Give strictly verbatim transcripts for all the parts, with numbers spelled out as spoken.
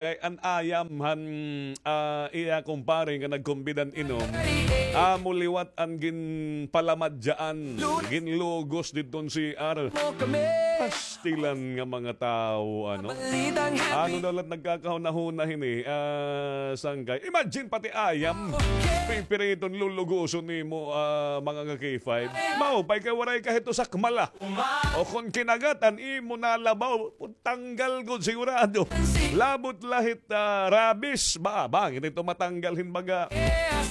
Kay an ayam han, ah, iya kumpare nga nagkumbida hin inom, amo liwat an ginpalamadyaan, ginlugos didton C R. Pastilan nga mga tawo, ano? Ano daw la it nagkakahunahuna hini, ah, Sangkay? Imagine, pati ayam, pipiriton, lulugoson nimo, ah, mga ka-K five. Maupay kay waray ka hito sakmala. O kon kinagat an imo nalabaw, tanggal gud sigurado. Labot la hit, ah, rabies. Ba, ba, ngani ito matanggal hin baga.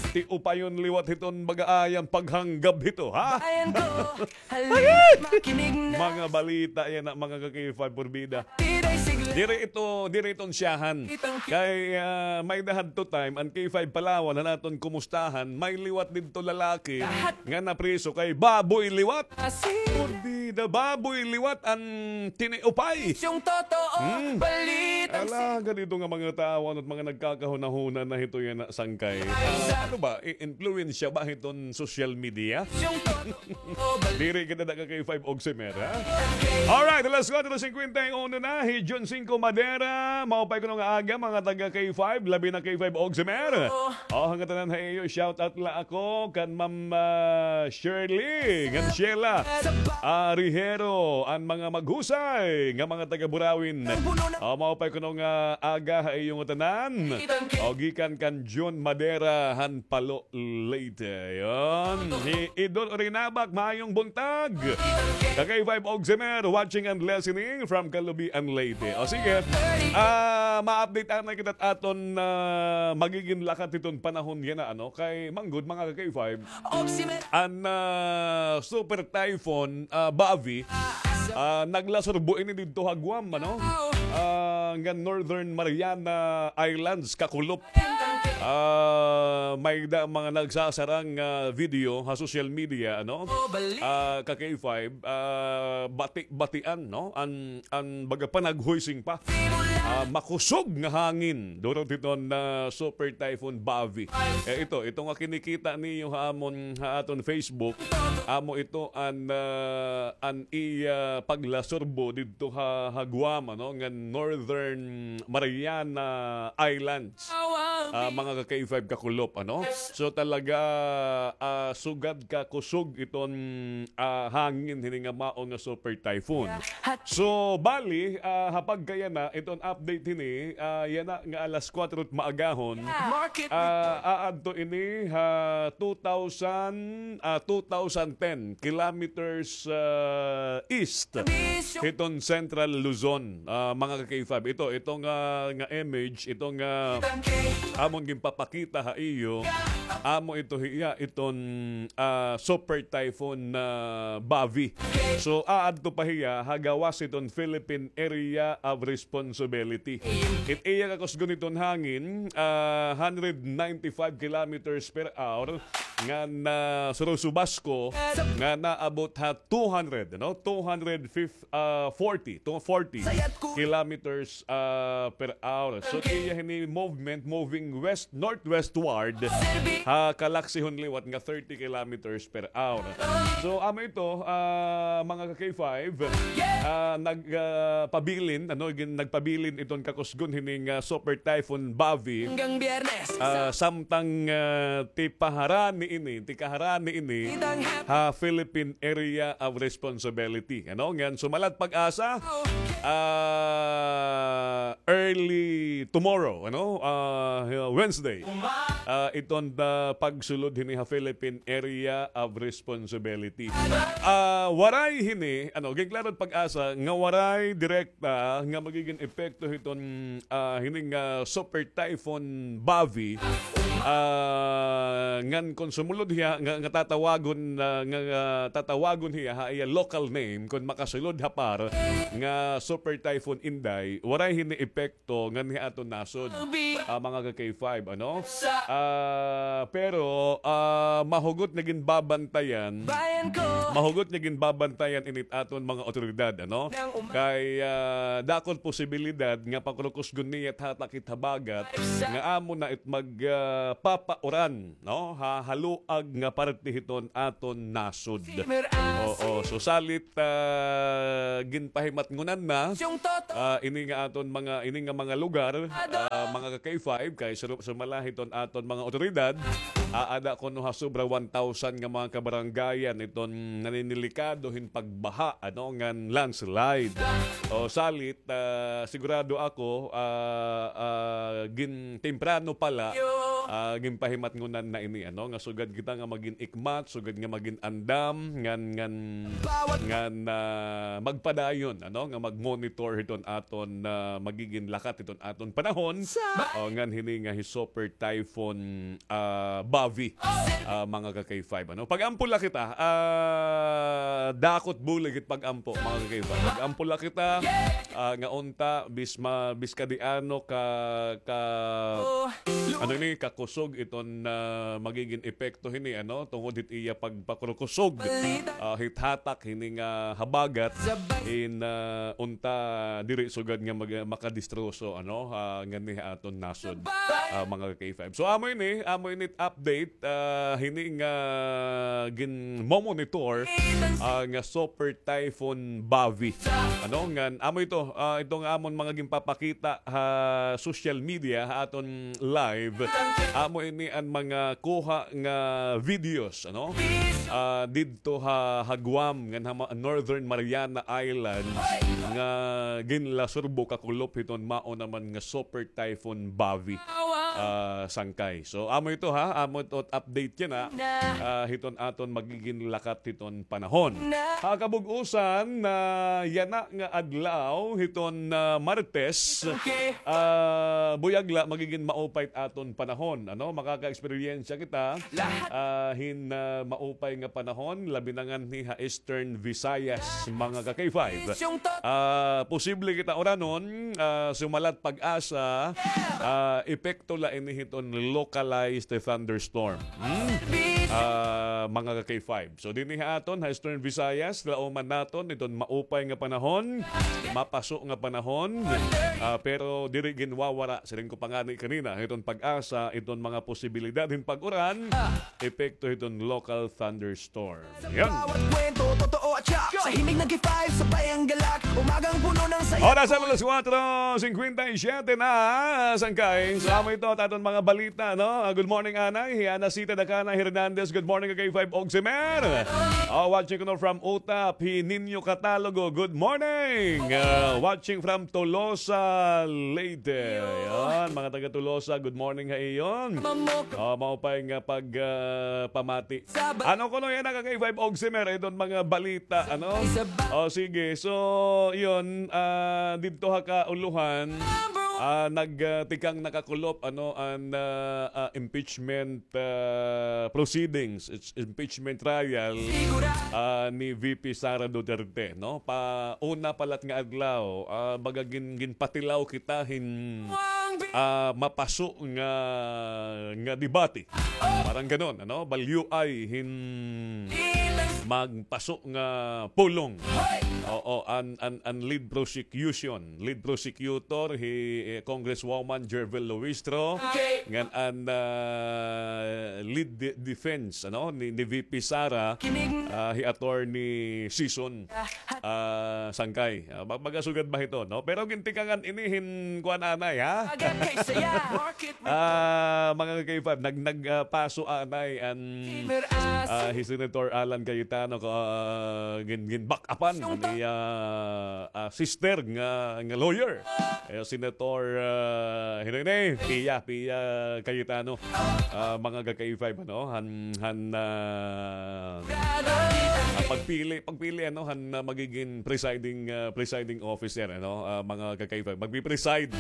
Ti upayon liwat hiton baga ayam paghanggab hito, ha? Mga balita yana, mga ka-K five, purbida. Diri ito, diri ito an siyahan. Kay, ah, may-ada hadto time, an K five Palawan, han aton kumustahan, may liwat didto lalaki nga napriso kay baboy liwat. Purbida, baboy liwat an tiniupay. Ala, ganito nga mga tawo, ano, mga nagkakahunahuna na hito yana, Sangkay. Ah, ano ba? I-, impluwensya ba hiton social media? Diri kita da ka-K five Oximer, ha? Alright, alas kuwatro singkwenta y uno na, hi Jun Cinco Madera, maupay kuno nga aga, mga taga-K five, labi na K five Oximer. O, han ngatanan ha iyo, shout out la ako kan Ma'am, ah, Shirley, ngan Sheila, ah, Rihero, an mga maghusay nga mga taga-Burawin. O, maupay kuno nga aga ha iyo ngatanan. O, gikan kan Jun Madera han Palo, Leyte. Yon. Hi Idol Orinabak, maayong buntag. Ka-K five Oximer, watching and listening from Calubian, Leyte. O sige, ah, ma-update anay kita aton, ah, magigin lakat hiton panahon yana, ano? Kay manggod, mga ka-K five, an, ah, Super Typhoon, ah, Bavi, ah, naglasurbo ini didto ha Guam, ano? Ah, ngan Northern Mariana Islands, kakulop. Ah, may-ada mga nagsasarang, ah, video ha social media, ano? Ah, ka-K five, ah, bati-batian, no? An, an baga panaghoising pa. Ah, makusog nga hangin. Durot hiton, ah, Super Typhoon Bavi. Eh, ito, ito nga kinikita niyo ha amon, ha aton Facebook, amo ito an, ah, an iya paglasurbo didto ha, ha Guam, ano, nga Northern Mariana Islands. Ah, mga ka-K five, kakulop, ano? So, talaga, ah, sugad ka kusog iton, ah, hangin hini nga mao nga Super Typhoon. So, bali, ah, ha pagkayana, iton update hini, ah, yana nga alas kuwatro maagahon, ah, aadto ini ha two thousand, ah, two thousand ten kilometers, ah, east hiton Central Luzon, ah, mga ka-K five. Ito, ito nga, nga image, ito nga amon ginpapakita ha iyo, amo ito hiya iton, ah, Super Typhoon, ah, Bavi. So, aadto pa hiya ha gawas hiton Philippine Area of Responsibility. It iya kakusgon hiton hangin, ah, hundred ninety-five kilometers per hour, ngan, ah, surusubasko nga naabot ha two hundred, no? Two hundred fifty, ah, forty, two forty kilometers, ah, per hour. So, iya hini movement, moving west, northwestward, ha kalaksihon liwat nga thirty kilometers per hour. So, amo ito, ah, mga ka-K five, ah, nag, ah, pabilin, ano, gin-, nagpabilin iton kakusgon hining, ah, Super Typhoon Bavi. Ah, samtang, ah, ti paharani ini, ti kaharani ini ha Philippine Area of Responsibility. Ano, ngan sumalat PAGASA, ah, early tomorrow, ano, ah, Wednesday, ah, iton, ah, pagsulod hini ha Philippine Area of Responsibility. Ah, waray hini, ano, ginklaro it PAGASA nga waray direkta nga magigin epekto hiton, ah, hini nga Super Typhoon Bavi, ah, ngan kon sumulod hiya, nga, nga tatawagon, ah, nga, nga tatawagon hiya ha iya local name, kon makasulod ha PAR nga Super Typhoon Inday, waray hini epekto nganhi ha aton nasod, ah, mga ka-K five, ano? Ah, pero, ah, mahugot nga ginbabantayan, mahugot nga ginbabantayan ini it aton mga awtoridad, ano? Kay, ah, dako it posibilidad nga pakurukusgon niya it hatak hit habagat nga amo na it mag, ah, papauran, no? Ha, haluag nga parte hiton aton nasod. Oo, so salit, ah, ginpahimatngonan na ah, ini nga aton mga, ini nga mga lugar, ah, mga ka-K five, kay suru-, sumala hiton aton mga otoridad, aada kuno ha sobra one thousand nga mga kabarangayan iton naninilikado hin pagbaha, ano, ngan landslide. O, salit, ah, sigurado ako, ah, ah, gin-, temprano pa la, ah, ginpahimatngonan na ini, ano, nga sugad kita nga magin-ikmat, sugad nga magin-andam, ngan, ngan, ngan, ah, magpadayon, ano, nga mag-monitor hiton aton, ah, magigin lakat hiton aton panahon. O, ngan hini nga hi Super Typhoon, ah, Bavi, ah, mga ka-K five, ano. Pag-ampo la kita, ah, dakot bulig it pag-ampo, mga ka-K five. Pag-ampo la kita, ah, nga unta, bis ma-, bis kadi ano ka, ka, ano ini, kakusog iton, ah, magigin epekto hini, ano, tungod hit iya pagpakurkusog, ah, hit hatak hini nga habagat, in, ah, unta diri sugad nga mag-, makadistroso, ano, ah, ngani ha aton nasod, ah, mga ka-K five. So, amo ini, amo ini update, ah, hini nga ginmomonitor, ah, nga Super Typhoon Bavi. Ano, ngan, amo ito, ah, ito nga amon mga ginpapakita ha social media, ha aton live. Amo ini an mga kuha nga videos, ano? Ah, didto ha, ha Guam, ngan ha ma-, Northern Mariana Island, nga ginlasurbo kakulop hiton mao naman nga Super Typhoon Bavi, ah, Sangkay. So, amo ito, ha, amo ito update yana, ah, hiton aton magigin lakat hiton panahon. Ha kabug-usan, ah, yana nga adlaw hiton, ah, Martes, ah, buyag la magigin maupay it aton panahon, ano, makaka-eksperyensya kita, ah, hin, ah, maupay nga panahon, labi na nganhi ha Eastern Visayas, mga ka-K five. Ah, posible kita uranon, ah, sumalat PAGASA, ah, epekto la ini hiton localized thunderstorm. Hmm? Ah, mga ka-K five. So, dinhi ha aton, ha Eastern Visayas, laoman naton iton maupay nga panahon, mapaso nga panahon, ah, pero diri ginwawara, siring ko pa ngani kanina, hiton PAGASA, iton mga posibilidad hin pag-uran, epekto hiton local thunderstorm. Yan. Bawat kwento, totoo at siya. Sa himig ng K five, sabay ang galak. Umagang puno ng saya. Oras alas kuwatro singkwenta y siyete na, Sangkay. So, amo ito, it aton mga balita, no? Ah, good morning, Anay. Hi Ana Sita Dakana Hernandez, good morning, K five Ogsimer. Ah, watching kuno from Utap, hi Nino Catalogo, good morning. Ah, watching from Tolosa, Leyte. Yan, mga taga Tolosa, good morning ha iyo. Ah, maupay nga pag, ah, pamati. Ano kuno yana, K five Ogsimer, iton mga balita, ano? O, sige. So, yun, ah, didto ha kauluhan, ah, nag, ah, tikang nakakulop, ano, an, ah, ah, impeachment, ah, proceedings, it's impeachment trial, ah, ni V P Sara Duterte, no? Pa una pa la it nga adlaw, ah, baga gin-, ginpatilaw kita hin, ah, mapaso nga, nga debate. Parang ganon, ano? Balyoay hin magpaso nga pulong. Oo, an, an, an lead prosecution, lead prosecutor hi, eh, Congresswoman Jerville Luistro, ngan an, ah, lead de-, defense, ano, ni, ni V P Sara, ah, hi Attorney Sison, ah, Sangkay. Ah, ba-, baga sugad ba hito, no? Pero gintikangan ini hin kuan anay, ha? Ah, mga ka-K five, nag-, nag-, ah, paso anay an, ah, hi Senator Alan Cayetano, ka, ah, gin-, gin-back upan an iya, ah, sister nga, nga lawyer. Eh, Senator, ah, hino ini? Pia, Pia Cayetano. Ah, mga ka-K five, ano? Han, han, ah, ah, pagpili, pagpili, ano, han, ah, magigin presiding, ah, presiding officer, ano, ah, mga ka-K five. Magpi-preside,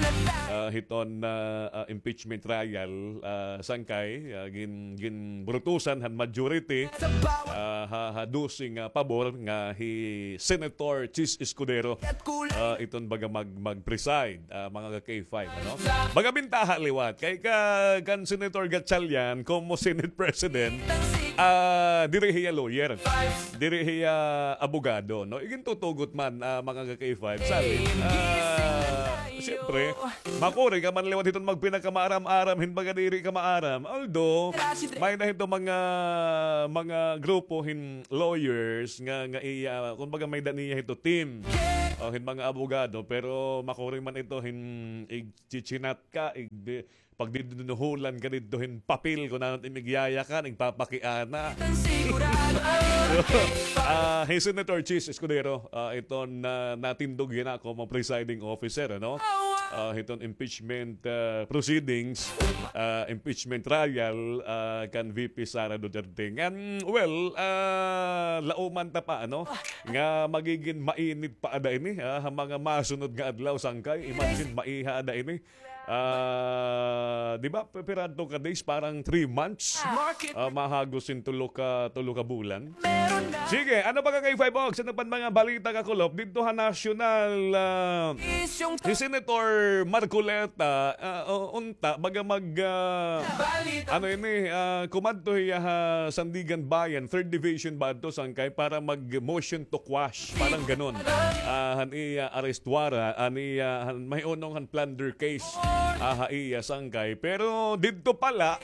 ah, hiton, ah, ah, impeachment trial, ah, Sangkay, ah, gin-, ginburutusan han majority, ah, ha, ha dose nga pabor nga hi Senator Chiz Escudero, ah, iton baga mag-, mag-preside, ah, mga ka-K five, ano? Baga bintaha liwat. Kay ka-, kan Senator Gatchalian, como Senate President, ah, diri hiya lawyer. Diri hiya abogado, no? Igintutugot man, ah, mga ka-K five. Sabi, ah, siyempre, makuri ka man liwat hiton magpinakamaaram-aram, hin baga diri ka maaram. Although, may-ada hito mga, mga grupo hin lawyers nga, nga iya, kumbaga may-ada niya hito team. o hin mga abogado, pero makuri man ito hin igchichinat ka, ig-, pagdidunuhulan ka didto hin papel kon ano it im igyayakan, igpapakiana. Ah, hi Senator Chiz Escudero, ah, iton na, natindog yana komo presiding officer, ano? Ah, hiton impeachment, ah, proceedings, ah, impeachment trial, ah, kan V P Sara Duterte. Ngan, well, ah, lauman ta pa, ano? Nga magigin mainit pa ada ini, ah, ha mga masunod nga adlaw, sangkay. Imagine, maiha ada ini. Ah, di ba, pi-, pira adto ka days, parang three months. Ah, mahagos hin tulo ka, tulo ka bulan. Sige, ano pa ka kay Five Oaks? Ano pa mga balita kakulop? Didto ha national, ah, si Senator Marcoleta, ah, o-, unta, baga mag, ah, ano ini, ah, kumadto hiya ha Sandiganbayan, third Division ba adto, sangkay, para mag-motion to quash, parang ganon. Ah, han iya arrest warrant, han iya, han, mahunong han plunder case, ah, ha iya, sangkay. Pero didto pala,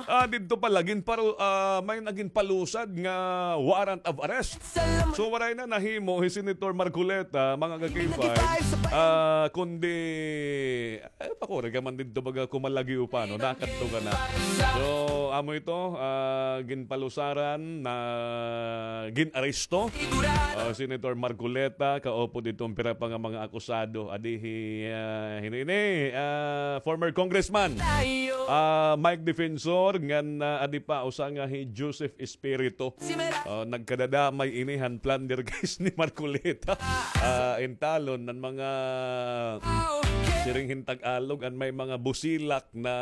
ah, didto pala, ginparu-, ah, may nagin palusad nga warrant of arrest. So, waray na nahimo hi Senator Marcoleta, mga ka-K five, ah, kundi, eh, pakuri ka man didto, baga kumalagi upa, no? Nakadto ka na. So, amo ito, ah, ginpalusaran na gin-aresto, ah, Senator Marcoleta, kaupod iton pira pa nga mga akusado. Adi hi, ah, hini ini, ah, former Congressman, ah, Mike Defensor, ngan, ah, adi pa, usa nga hi Joseph Espiritu. Ah, nagkadadamay ini han plunder case ni Marcoleta. Ah, intalon an mga, siring hin Tagalog, an may mga busilak na,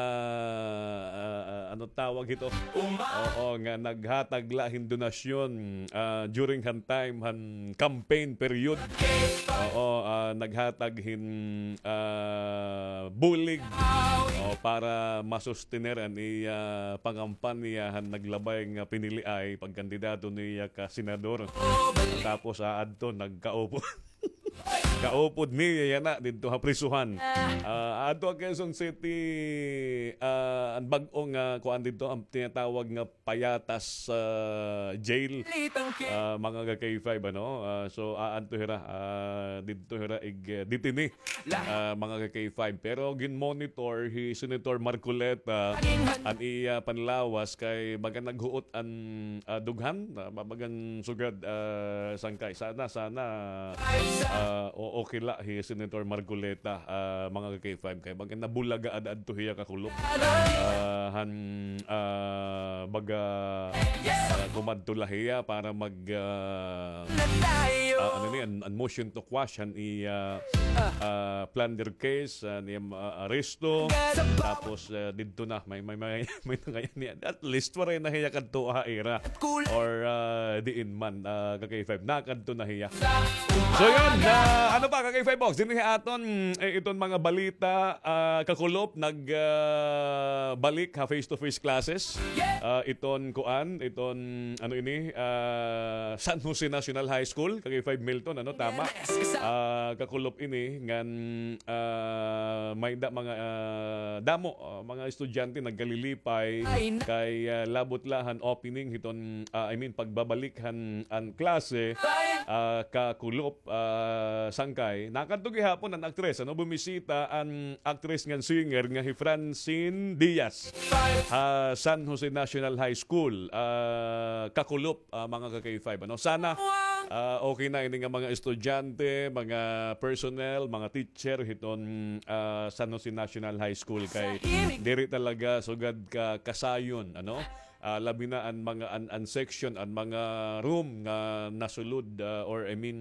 ah, ah, ano tawag hito? Oo, nga naghatag la hin donasyon, ah, during han time han campaign period. Oo, ah, naghatag hin, ah, bulig, o, para masustener an iya pangampanya han naglabay nga piniliay pagkandidato niya ka senador. Tapos, ah, adto nagkaupod. Kaupod niya yana didto ha prisuhan. Ah, adto ha Quezon City, ah, an bag-o nga kuan didto, an tinatawag nga Payatas, ah, Jail. Ah, mga ka-K five, ano? Ah, so, aadto hira, ah, didto hira ig, eh, detene, ah, mga ka-K five. Pero gin-monitor hi Senator Marcoleta an iya panlawas kay baga naghuot an, ah, dughan, ah, ba-, bagan sugad, ah, sangkay. Sana, sana, ah, o-, okay la hi Senator Marcoleta, ah, mga ka-K five, kay baga nabulaga ad-adto hiya kakulop. Ah, han, ah, baga, ah, kumadto la hiya para mag, ah, ah, ano ni, an, an motion to quash, han iya, ah, plunder case, ah, niya, ah, aresto. Tapos, ah, didto na, may, may, may, may nangayan niya. At least, waray na hiya kadto ha ira. Or, ah, diin man, ah, ka-K five. Nakadto na hiya. So, yun, ah, ano pa, ka-K five Box? Dinhi aton, eh, iton mga balita, ah, kakulop, nag, ah, balik ha face-to-face classes. Ah, iton kuan, iton, ano ini, ah, San Jose National High School, ka-K five Milton, ano, tama? Ah, kakulop ini, ngan, ah, may da mga, ah, damo, ah, mga estudyante nagkalilipay, kay, ah, labot la han opening hiton, ah, I mean, pagbabalik han, an klase, ah, kakulop, ah, sangkay. Nakadto gihapon an aktres, ano, bumisita an aktres ngan singer nga hi Francine Diaz ha San Jose National High School, ah, kakulop, ah, mga ka-K five, ano. Sana, ah, okay na ini nga mga estudyante, mga personnel, mga teacher hiton, ah, San Jose National High School kay diri talaga sugad ka kasayon, ano. Ah, labi na an mga an, an section, an mga room nga nasulod, ah, or I mean,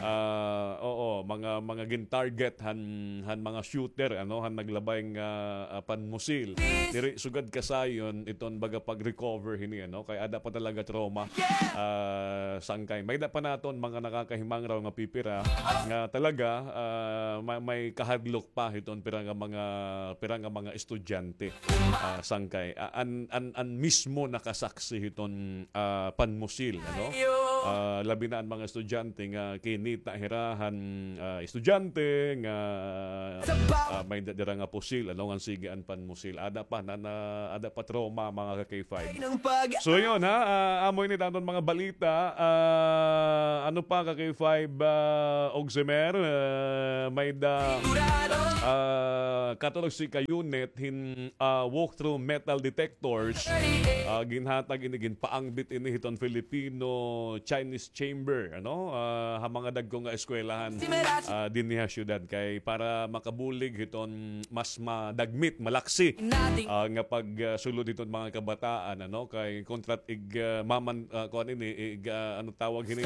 ah, oo, mga, mga gin-target han, han mga shooter, ano, han naglabay nga, ah, panmusil. Diri sugad kasayon iton baga pag-recover hini, ano, kay ada pa talaga trauma, ah, sangkay. May da pa naton mga nakakahimangraw nga pipira nga talaga, ah, may, may kahadlok pa hiton pira nga mga, pira nga mga estudyante, ah, sangkay. Ah, an, an, an mismo nakasaksi hiton, ah, panmusil, ano? Ah, labi na an mga estudyante nga kinita hira han, ah, estudyante nga, ah, may da-, dira nga pusil, ano, ngan sige an panmusil. Ada pa, na, na, ada pa trauma, mga ka-K five. So, yun, ha, ah, amo ini an aton mga balita. Ah, ano pa, ka-K five, ah, Ogsemer, ah, may da, ah, katorse ka unit hin, ah, walk-through metal detectors. Ah, ginhatag ini, ginpaangbit ini hiton Filipino-Chinese Chamber, ano? Ah, ha mga dagko nga eskwelahan, ah, dinhi ha syudad kay para makabulig hiton mas madagmit, malaksi, ah, nga pagsulod hiton mga kabataan, ano? Kay kontra it ig, ah, maman-, ah, kuan ini, ig, ah, ano tawag hini?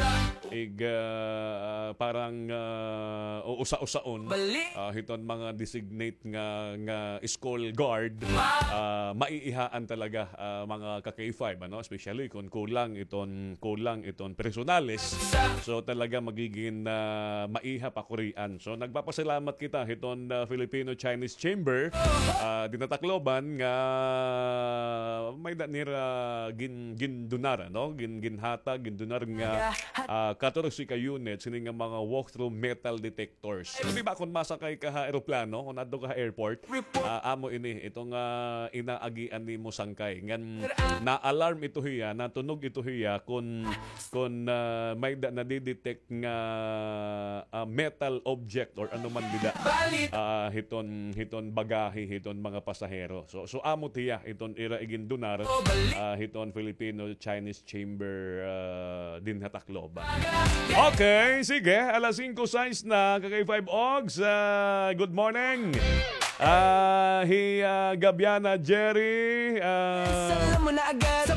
Ig, ah, parang, ah, uusa-usaon, ah, hiton mga designate nga, nga school guard, ah, maiihaan talaga, ah, mga ka-K five, ano? Especially kung kulang iton, kulang iton personales. So, talaga magigin, ah, maiha pakurian. So, nagpapasalamat kita hiton, ah, Filipino-Chinese Chamber, ah, dinhi ha Tacloban nga may da nira gin-, gindonar, ano? Gin-, ginhatag, gindonar nga, ah, katorse ka units, hini nga mga walk-through metal detectors. Di ba, kung masakay ka ha eroplano, kung adto ka ha airport, ah, amo ini, iton, ah, inaagian nimo sangkay. Ngan na-alarm ito hiya, natunog ito hiya, kung, kung, ah, may da nadidetect nga, ah, metal object or ano man dida, ah, hiton, hiton bagahe, hiton mga pasahero. So, so amo tiya, iton ira igindonar, ah, hiton Filipino-Chinese Chamber, ah, dinhi ha Tacloban. Okay, sige. Alas singko sais na, ka-K five Ogs. Ah, good morning. Ah, hi, ah, Gabiana Jerry. Ah,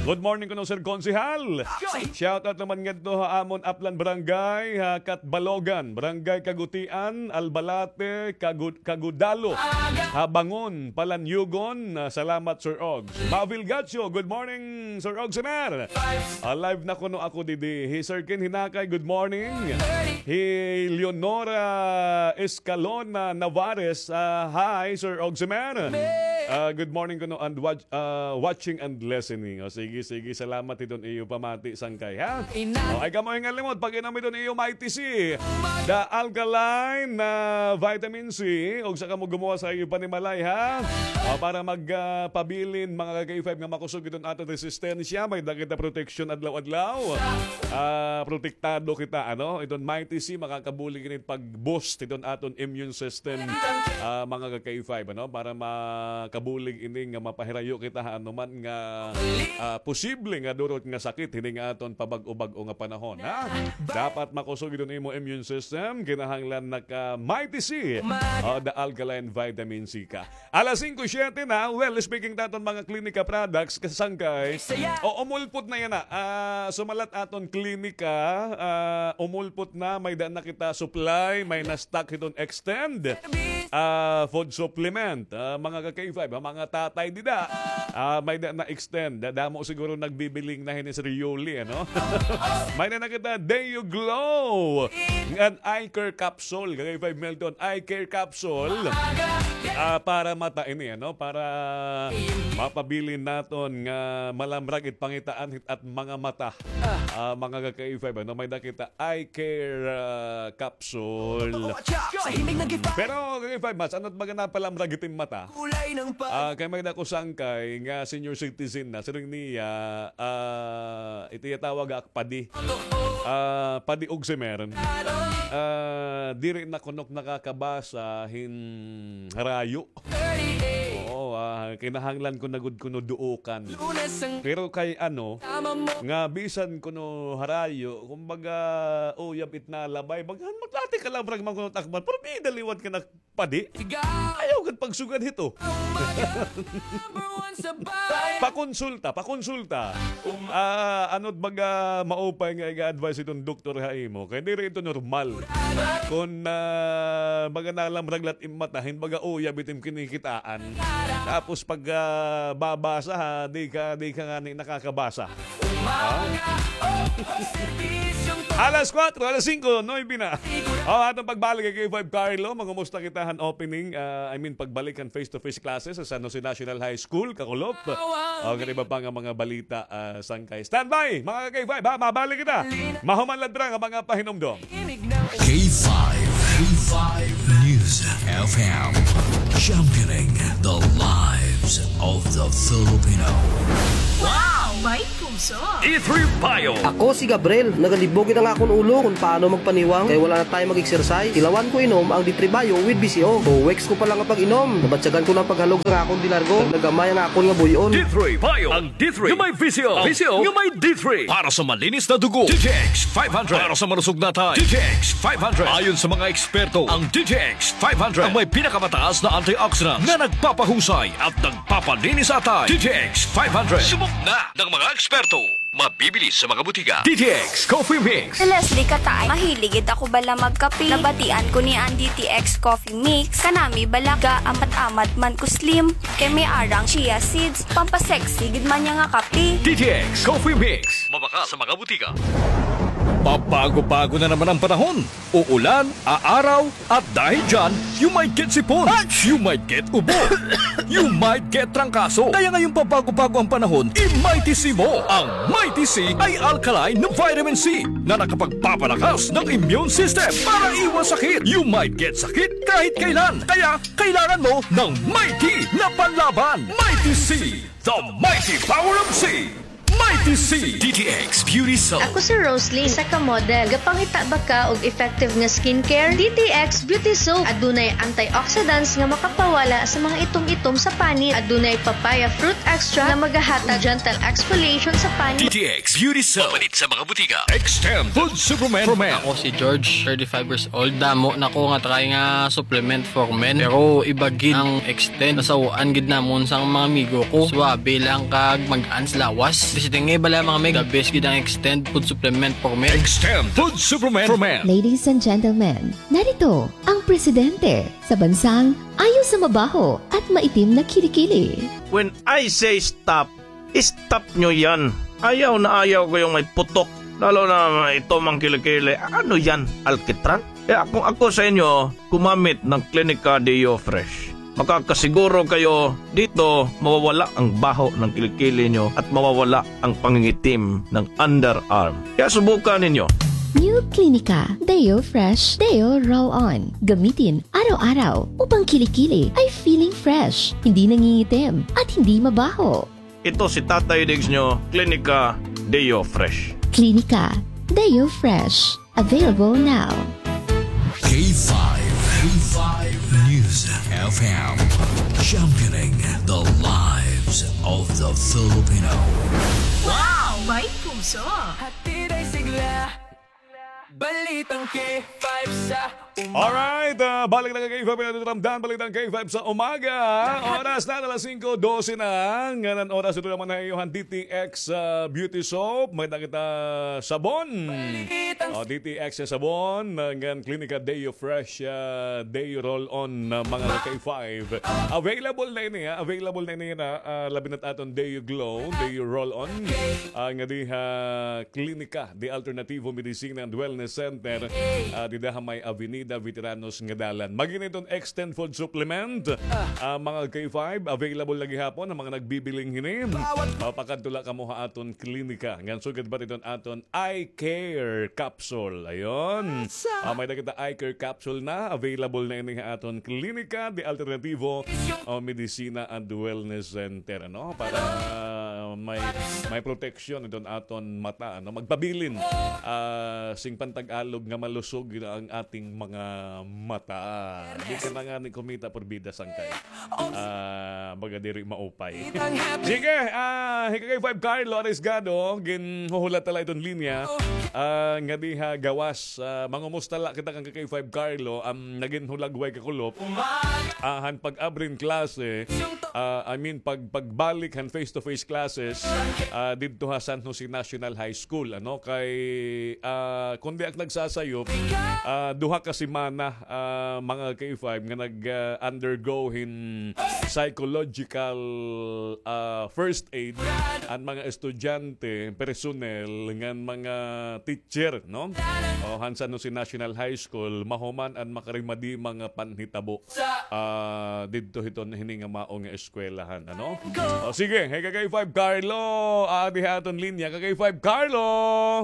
good morning kuno, Sir Konsehal. Shout out naman ngadto ha amon Aplan Barangay, ha Catbalogan, Barangay Kagutian, Albalate, Kagu-, Kagudalo, ha Bangon, Palanyugon. Ah, salamat, Sir Ogs. Mavil Gacho, good morning, Sir Ogs Semer. Ah, live na kuno ako didi. Hi Sir Ken Hinakay, good morning. Hi Leonora Escalona Navares, ah, hi, Sir Ogs Semer. Ah, good morning kuno and watch, ah, watching and listening. O, sige, sige, salamat hiton iyo pamati, sangkay, ha? O, ay kamo ngan limot pag-inom hiton iyo Mighty C, the alkaline, ah, vitamin C, ug sa kamo gumuwas ha iyo panimalay, ha? O, para mag, ah, pabilin, mga ka-K five, nga makusog iton aton resistensya, may da kita protection adlaw-adlaw. Ah, protektado kita, ano? Iton Mighty C, makakabulig ini pag-boost iton aton immune system, ah, mga ka-K five, ano? Para makabulig ini nga mapahirayo kita ha anuman nga, ah, posible nga durot nga sakit hini nga aton pabag-o-bag-o nga panahon, ha? Dapat makusog iton imo immune system, kinahanglan naka Mighty C, ah, the alkaline vitamin C ka. Alas singko siyete na. Well, speaking ta aton mga klinika products, kasangkay, o, umulpot na yana. Ah, sumalat aton klinika, ah, umulpot na, may da na kita supply, may na-stock hiton Extend, ah, food supplement. Ah, mga ka-K five, ha, mga tatay dida. Ah, may da na-extend. Da-, damo siguro nagbibiling na hini, Sir Yuli, ano? May na na kita Deo Glow. Ngan eye care capsule, ka-K five Milton, eye care capsule. Ah, para mata ini, ano? Para mapabilin naton nga malamrag it pangitaan hit at mga mata. Ah, mga ka-K five, ano? May da kita eye care, ah, capsule. Pero, ka-K five, mas, ano it baga napalamrag it im mata? Ah, kay may da ko sangkay nga senior citizen na, siring niya, ah, ito iya tawag ak padi. Ah, padi og simer. Ah, diri na kuno ak nakakabasa hin harayo. Oo, ah, kinahanglan ko na gud kuno duokan. Pero kay ano, nga bisan kuno harayo, kumbaga, uyab it nalabay, baga, maglati ka la, brag, man kuno takban, pero may da liwat ka na padi. Ayaw gad pagsugad hito. Pakonsulta, pakonsulta. Ah, ano it baga maupay nga iga-advise iton doktor ha imo? Kay diri ito normal. Kon, ah, baga nalamrag la it im mata, hin baga uyab it im kinikitaan. Tapos pag, ah, babasa ha, di ka, di ka ngani nakakabasa. Ha? Alas kuwatro, alas singko, nuwebe na. O, aton pagbalik kay K five Carlo, mangumusta kita han opening, ah, I mean, pagbalik han face-to-face classes sa San Jose National High School, kakulop. O, kay iba pa nga mga balita, ah, sangkay. Standby, mga K five, ha? Mabalik kita. Mahuman la dira nga mga pahinumdom. K five, K five News F M, championing the lives of the Filipino. Wow! May puso! D three Bio. Ako si Gabriel, nagalibog it ang akon ulo kon paano magpaniwang kay wala na tayo mag-exercise. Tilawan ko inom ang D three Bio with B C O. Two weeks ko pa lang nga pag-inom, nabatyagan ko na ang paghalog sa akon dinargo. Nag-amay ang akon nga buy-on. D three Bio. Ang D three nga may V C O. V C O nga may D three. Para sa malinis na dugo, D T X five hundred. Para sa malusog na atay, D T X five hundred. Ayon sa mga eksperto, ang D T X five hundred ang may pinakamataas na antioxidants na nagpapahusay at nagpapalinis sa atay. D T X five hundred. Subok na ng mga eksperto. Mabibili sa mga butika. D T X Coffee Mix. Si Leslie Kataay, mahilig gid ako bala magkape. Nabatian ko niya an D T X Coffee Mix. Kanami bala, gaamat-amat man ko slim. Kay may ara an chia seeds, pampasexy gid man niya nga kape. D T X Coffee Mix. Mabakal sa mga butika. Pabago-bago na naman ang panahon. Uulan, aaraw, at dahil dyan, you might get sipon. You might get ubo. You might get trangkaso. Kaya ngayong pabago-bago ang panahon, i-Mighty C mo. Ang Mighty C ay alkaline na vitamin C na nakapagpapalakas ng immune system para iwas sakit. You might get sakit kahit kailan. Kaya kailangan mo ng Mighty na panlaban. Mighty C, the mighty power of C. Mighty C. D T X Beauty Soap. Ako si Rosalie, isa ka model. Gapangita ba ka og effective nga skincare? D T X Beauty Soap. Adunay antioxidants nga makapawala sa mga itom-itom sa panit. Adunay papaya fruit extract nga magahatag gentle exfoliation sa panit. D T X Beauty Soap. Mapalit sa mga butika. Extend Food Supplement for Men. Ako si George, thirty-five years old. Damo na ko nga try nga supplement for men. Pero iba gid ang Extend. Nasaw-an gid namon sang mga amigo ko. Suwabe lang kag mag-ans lawas. Basta nga bala mga meg, the best gid ang Extend Food Supplement for Men. Extend Food Supplement for Men. Ladies and gentlemen, narito ang presidente sa bansang ayaw sa mabaho at maitim na kilikili. When I say stop, stop nyo yan. Ayaw na ayaw ko yung may putok. Lalo na ito mang kilikili. Ano yan? Alkitran? Kaya kung ako sa inyo, gumamit ng Clinica Deo Fresh. Makakasiguro kayo dito mawawala ang baho ng kilikili nyo at mawawala ang pangingitim ng underarm. Kaya subukan ninyo. New Clinica Deo Fresh Deo Roll On. Gamitin araw-araw upang kilikili ay feeling fresh, hindi nangingitim, at hindi mabaho. Ito si Tatay Diggs nyo, Clinica Deo Fresh. Clinica Deo Fresh. Available now. K five, K five News F M. Championing the lives of the Filipino. Wow! May puso! Hatid ay sigla. Balitang K five sa umaga. Alright, ah, balik na ka K five na ramdam, balitang K five sa umaga. Oras na, alas singko dose na. Ngan an oras ito naman na iyohan D T X, ah, Beauty Soap. May nakita sabon. Balitang O, D T X nga sabon. Ngan Clinica Deo Fresh, ah, Deo Roll On, ah, mga K five. Available na ini, ha? Available na ini, ha? Ah, labi na aton Deo Glow, Deo Roll On. Ah, nga diha Clinica de Alternativo Medicina and Wellness Center, ah, dida ha may Avenida Veteranos nga dalan. Mag-ini iton Extend Food Supplement, ah, mga K five, available la gihapon an mga nagbibiling hini. Ah, pakadto la kamo ha aton klinika. Ngan sugad pa iton aton Eye Care Capsule. Ayon. Ah, may-ada kita Eye Care Capsule na. Available na ini ha aton Klinika de Alternativo o Medicina and Wellness Center, ano? Para may, may protection iton aton mata, ano? Magpabilin, ah, sing pan-Tagalog nga malusog gid ang ating mga mata. Di ka na ngani kumita, porbida, sangkay. Ah, baga diri maupay. Sige, ah, hi K five Carlo Arisgado, ginhuhulat na la iton linya. Ah, nga diha gawas, ah, mangumusta la kita kan K five Carlo, am, nagin hulagway kakulop. Ah, han pag-abri hin klase, ah, I mean, pag-, pagbalik han face-to-face classes, ah, didto ha San Jose National High School, ano, kay, ah, kon di ak nagsasayop, ah, duha ka semana, ah, mga K five nga nag, ah, undergo hin psychological, ah, first aid an mga estudyante, personnel, ngan mga teacher, no? O, han San Jose National High School, mahuman an makarimadi mga panhitabo, ah, didto hiton hini nga mao nga eskwelahan, ano? O, sige, hey, ka K five Carlo, adi ha aton linya, ka K five Carlo!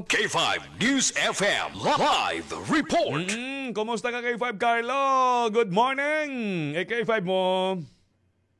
K five News F M live report. Mm, kumusta ka K five Carlo? Good morning! Eh, K five mo?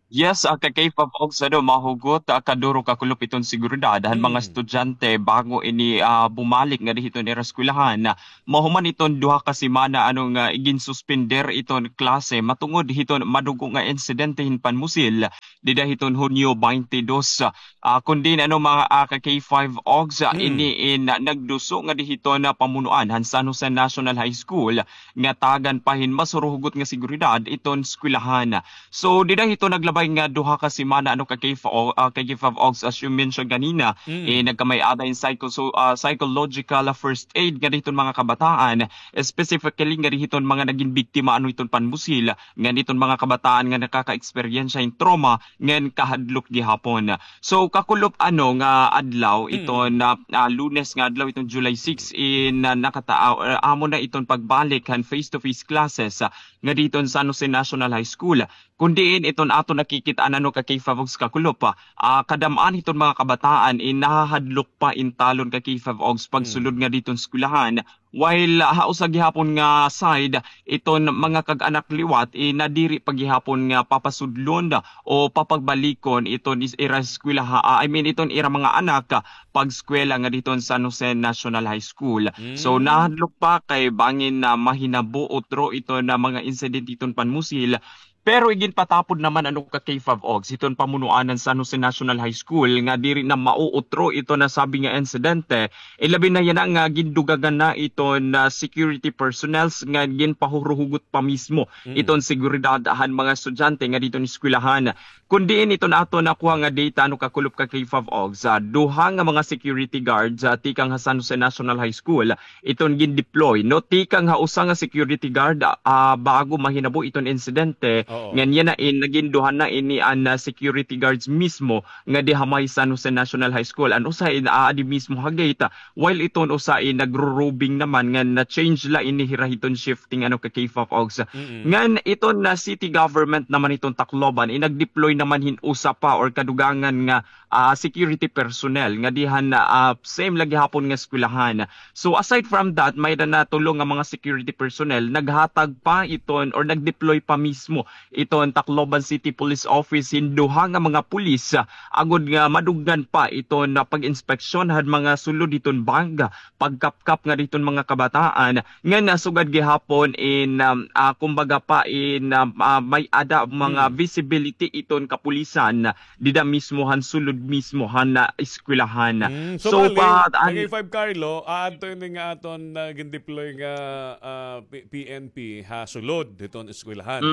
Yes, ah, ka K five Ogs, ano, mahugot, ah, kaduro kakulop iton seguridad han mga estudyante bago ini, ah, bumalik ngadi hiton ira eskwelahan. Mahuman iton duha ka semana, ano, nga iginsuspender iton klase matungod hiton madugo nga insidente hin panmusil dida hiton Hunyo twenty-two. Ah, kun diin, ano, mga, ah, ka K five Ogs, ah, ini in, ah, nagduso ngadi hiton, ah, pamunuan han San Jose National High School nga tagan pa hin mas huruhugot nga seguridad iton eskwelahan. So, dida hiton naglabay nga duha ka semana, ano, ka K five, ah, ka K five Ogs, as you mentioned ganina, eh, nagkamay-ada hin psycho-, so, ah, psychological first aid ngadi hiton mga kabataan, specifically ngadi hiton mga nagin biktima, ano, hiton panmusil, ngadi hiton mga kabataan nga nakaka-eksperyensya hin trauma ngan kahadlok gihapon. So, kakulop, ano, nga adlaw iton, ah, ah, Lunes nga adlaw iton July six in, ah, nakata-, ah, amo na iton pagbalik han face-to-face classes, ah, ngadi hiton San Jose National High School. Kun diin iton aton nakikit-an, ano, ka K five Ogs, kakulop, ah, kadam-an hiton mga kabataan in nahahadlok pa in talon ka K five Ogs pagsulod ngadi hiton eskwelahan. While, ah, ha usa gihapon nga side, iton mga kag-anak liwat, eh, nadiri pa gihapon nga papasudlon o papagbalikon iton is-, ira eskwelaha, ah, I mean, iton ira mga anak, ah, pag-eskwela ngadi hiton San Jose National High School. So, nahadlok pa kay bangin na mahinabo utro iton mga insidente hiton panmusil. Pero iginpatapod naman, ano, ka K five Ogs, hiton pamunuan han San Jose National High School nga diri na mauutro iton nasabi nga insidente. Ilabi na yana nga gindugangan na iton, ah, security personnels nga ginpahuruhugot pa mismo iton seguridad han mga estudyante ngadi hiton eskwelahan. Kun diin iton aton nakuha nga data, ano, kakulop ka K five Ogs, ah, duha nga mga security guards, ah, tikang ha San Jose National High School, iton gin-deploy, no? Tikang ha usa nga security guard, ah, bago mahinabo iton insidente, ngan yana in nagin duha na ini an, ah, security guards mismo nga di ha may San Jose National High School. An usa in aadi mismo ha gate, ah, while iton usa in nagro-roving naman ngan na-change la ini hira hiton shifting, ano, ka K five Ogs. Ngan iton na city government naman hiton Tacloban, in nag-deploy naman hin usa pa or kadugangan nga ah, security personnel nga dihan, ah, same la gihapon nga eskwelahan. So, aside from that, may-ada na tulo nga mga security personnel naghatag pa iton or nag-deploy pa mismo iton Tacloban City Police Office hin duha nga mga pulis, ah, agod nga maduggan pa iton, ah, pag-inspeksyon han mga sulod hiton bag, pagkapkap ngadi hiton mga kabataan, ngan nasugad gihapon in, um, ah, kumbaga pa in, um, ah, may-ada mga visibility iton kapulisan dida mismo han sulod mismo han, ah, eskwelahan. So, bali, pa-, an-, K five Carlo, aadto ini nga aton, ah, gin-deploy nga, ah, P-, P N P ha sulod hiton eskwelahan.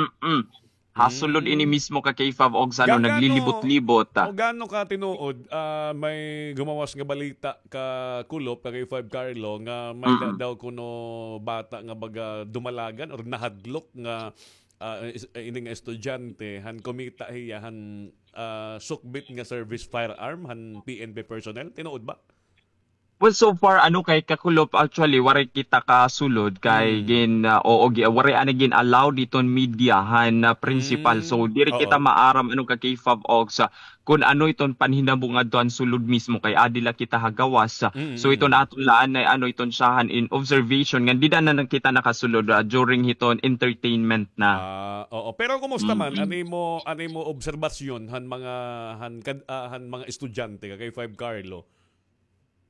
Ha sulod ini mismo ka K five Ogs, ano, naglilibot-libot, ah. O gaano ka tinuod, ah, may gumawas nga balita kakulop ka K five Carlo nga may-ada daw kuno bata nga baga dumalagan or nahadlok nga ah, is-, eh, ini nga estudyante, han kumita hiya, han, ah, sukbit nga service firearm, han P N P personnel? Tinuod ba? Well, so far, ano, kay kakulop, actually, waray kita kasulod kay gin-, ah, oo, gi-, waray ani gin-allow diton media han, ah, principal. So, diri kita maaram, ano, ka K five Ogs, ah, kun ano iton panhinabo ngadto han sulod mismo kay adi la kita ha gawas. So iton aton la anay, ano, iton syahan in observation ngan dida na lang kita nakasulod, ah, during hiton entertainment na. Ah, oo. Pero kumusta man an imo, an imo obserbasyon han mga, han kad-, ah, han mga estudyante ka K five Carlo?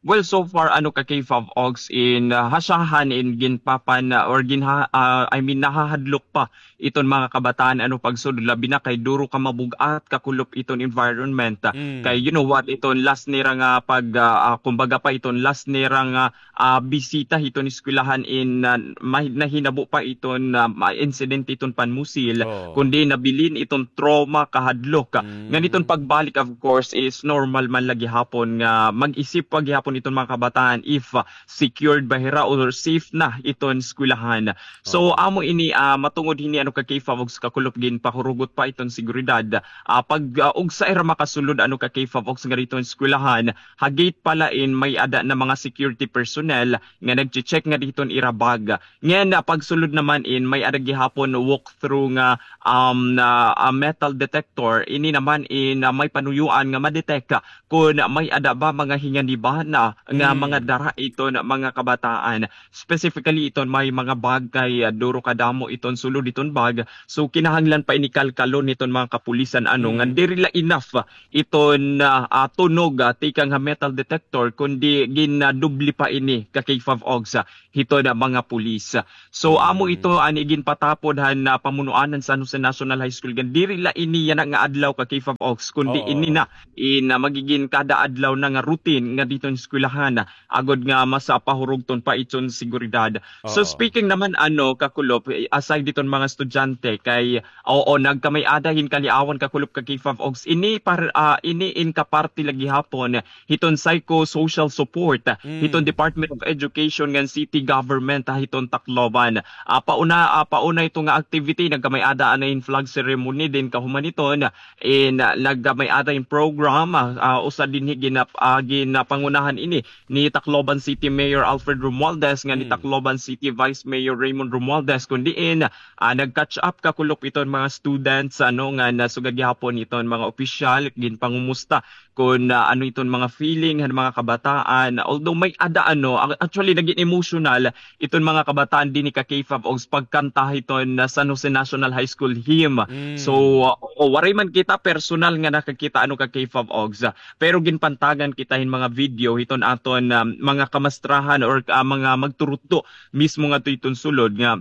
Well, so far, ano, ka K five Ogs, in, ah, hasyahan in ginpapan, ah, or ginha-, ah, I mean, nahahadlok pa iton mga kabataan, ano, pagsulod, labi na kay duro ka mabug-at, kakulop iton environment. Ah, kay, you know what, iton last nira nga pag, ah, ah, kumbaga pa iton last nira nga, ah, bisita hiton eskwelahan in, ah, may-, nahinabo pa iton, ah, ma-, incident iton panmusil, kundi nabilin iton trauma, kahadlok. Ngan iton pagbalik, of course, is normal man la gihapon nga mag-isip pa gihapon iton mga kabataan if, ah, secured ba hira or safe na iton eskwelahan. So, amo ini, ah, matungod hini, ano, ka K five Ogs, kakulop, ginpahurugot pa iton seguridad. Ah, pag, ah, ugsa ira makasulod, ano, ka K five Ogs, nga diton eskwelahan, ha gate pa la in may-ada na mga security personnel nga nagche-check nga diton ira bag. Ngan, ah, pagsulod naman in may-ada gihapon walkthrough nga, um, na, ah, metal detector. Ini naman in, ah, may panuyoan nga ma-detect, ah, kon may-ada ba mga hinganiba na nga mga dara iton mga kabataan. Specifically iton may mga bag kay, ah, duro kadamo iton sulod iton bag. So kinahanglan pa ini kalkalon hiton mga kapulisan, ano, nga diri la enough, ah, iton, ah, ah, tunog, ah, tikang ha metal detector, kundi ginadubli pa ini, ka K five Ogs, ah, hiton mga pulis. So, amo ito an iginpatapod han, ah, pamunuanan San Jose National High School. Gan diri la ini yana nga adlaw, ka K five Ogs, kundi ini na in, ah, magigin kada adlaw na nga routine nga diton eskwelahan, ah, agod nga mas, ah, pahurugton pa iton seguridad. So, speaking naman, ano, kakulop, eh, aside diton mga estudyante, kay, oo, nagkamay-ada hin kaliawan, kakulop, ka K five Ogs. Ini par-, ah, ini in kaparti la gihapon hiton psychosocial support, ah, hiton Department of Education ngan city government, ah, hiton Tacloban. Ah, pauna, ah, pauna ito nga activity, nagkamay-ada anay hin flag ceremony, then kahuman hiton, in, ah, nagkamay-ada hin program, ah, ah, usa dinhi ginap-, ah, ginapangunahan ini ni Tacloban City Mayor Alfred Romualdez ngan ni Tacloban City Vice Mayor Raymond Romualdez, kun diin, ah, nag-catch up, kakulop, iton mga students, ano, nga nasugad gihapon iton mga opisyal, ginpangumusta kon, ah, ano iton mga feeling han mga kabataan. Although may-ada, ano, ang-, actually, naging emotional iton mga kabataan dinhi, ka K five Ogs, pagkanta hiton, ah, San Jose National High School hymn. So, ah, o, waray man kita personal nga nakakita, ano, ka K five Ogs, ah, pero ginpantagan kita hin mga video hiton aton, ah, mga kamastrahan or, ah, mga magturutdo mismo ngadto hiton sulod nga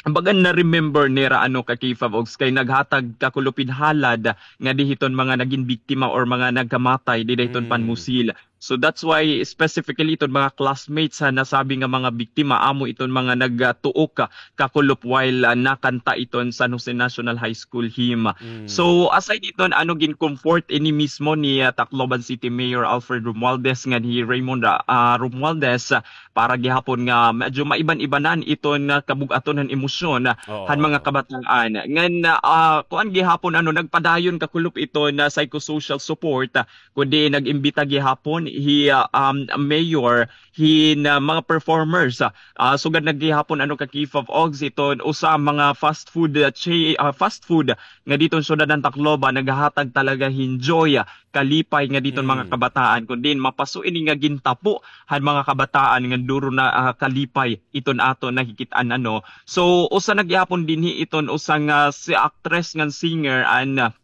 bagan na-remember nira, ano, ka K five Ogs, kay naghatag, kakulop, hin halad ngadi hiton mga nagin biktima or mga nagkamatay dida hiton panmusil. So that's why specifically iton mga classmates ha nasabi nga mga biktima, amo iton mga nagtuok, kakulop, while, ah, nakanta iton San Jose National High School hymn. So aside iton, ano, gin-comfort ini mismo ni, ah, Tacloban City Mayor Alfred Romualdez ngan hi Raymond, ah, Romualdez, ah, para gihapon nga medyo maiban-ibanan iton, ah, kabug-aton han emosyon, ah, han mga kabataan. Ngan, ah, kuan gihapon, ano, nagpadayon, kakulop, iton, ah, psychosocial support, ah, kundi nag-imbita gihapon hi, ah, um, mayor, hin, ah, mga performers, ah, ah, sugad na gihapon, ano, ka K five Ogs, iton usa mga fast food, ah, cha-, ah, fast food nga diton syudad han Tacloban, naghahatag talaga hin joy, ah, kalipay nga diton mga kabataan, kun diin mapaso ini nga gintapo han mga kabataan nga duro na, ah, kalipay iton aton nakikit-an, ano. So usa na gihapon dinhi iton usa nga si actress ngan singer an, ah,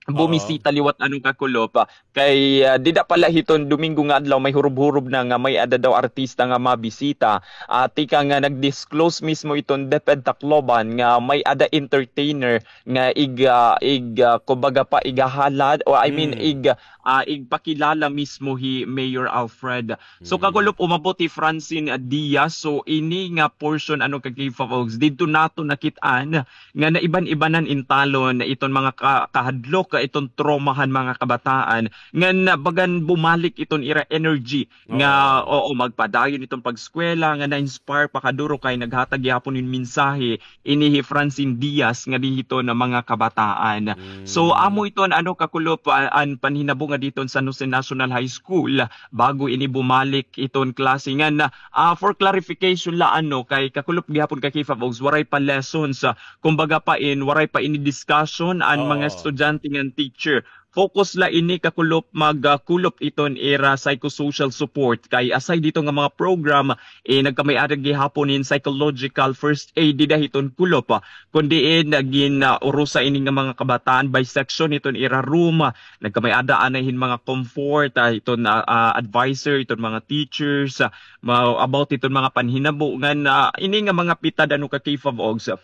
bumisita liwat, ano, kakulop, ah, kay, ah, dida pa la hiton Domingo nga adlaw may hurob-hurob na nga may-ada daw artista nga mabisita. Ah, tikang nga nag-disclose mismo iton DepEd Tacloban nga may-ada entertainer nga ig-, ah, ig-, ah, kumbaga pa, igahalad, o I mean, ig-, ah, igpakilala mismo hi Mayor Alfred. So kakulop, umabot hi Francine, ah, Diaz. So ini nga portion, ano, ka K five Ogs, didto naton nakit-an nga naiban-ibanan in talon iton mga ka-, kahadlok, ah, iton trauma han mga kabataan, ngan, ah, bagan bumalik iton ira energy nga, oo, magpadayon iton pag-eskwela, nga na-inspire pa kaduro kay naghatag gihapon hin mensahe ini hi Francine Diaz ngadi hiton mga kabataan. So amo iton, ano, kakulop, ah, an panhinabo ngadi hiton San Jose National High School bago ini bumalik iton klase. Ngan, ah, for clarification la, ano, kay kakulop gihapon, ka K five Ogs, waray pa lessons, ah, kumbaga pa in, waray pa ini discussion an mga estudyante ngan teacher. Focus la ini kakulop mag, ah, kulop iton ira psychosocial support kay aside dito nga mga program, eh, nagkamay-ada gihapon hin psychological first aid dida hiton kulop, ah, kun diin, ah, gin, ah, urusa ini nga mga kabataan by section hiton ira room, ah, nagkamay-ada anay hin mga comfort, ah, hiton, ah, ah, adviser, hiton mga teachers, ah, ma-, about hiton mga panhinabo ngan, ah, ini nga mga pitad ano ka K five Ogs, ah,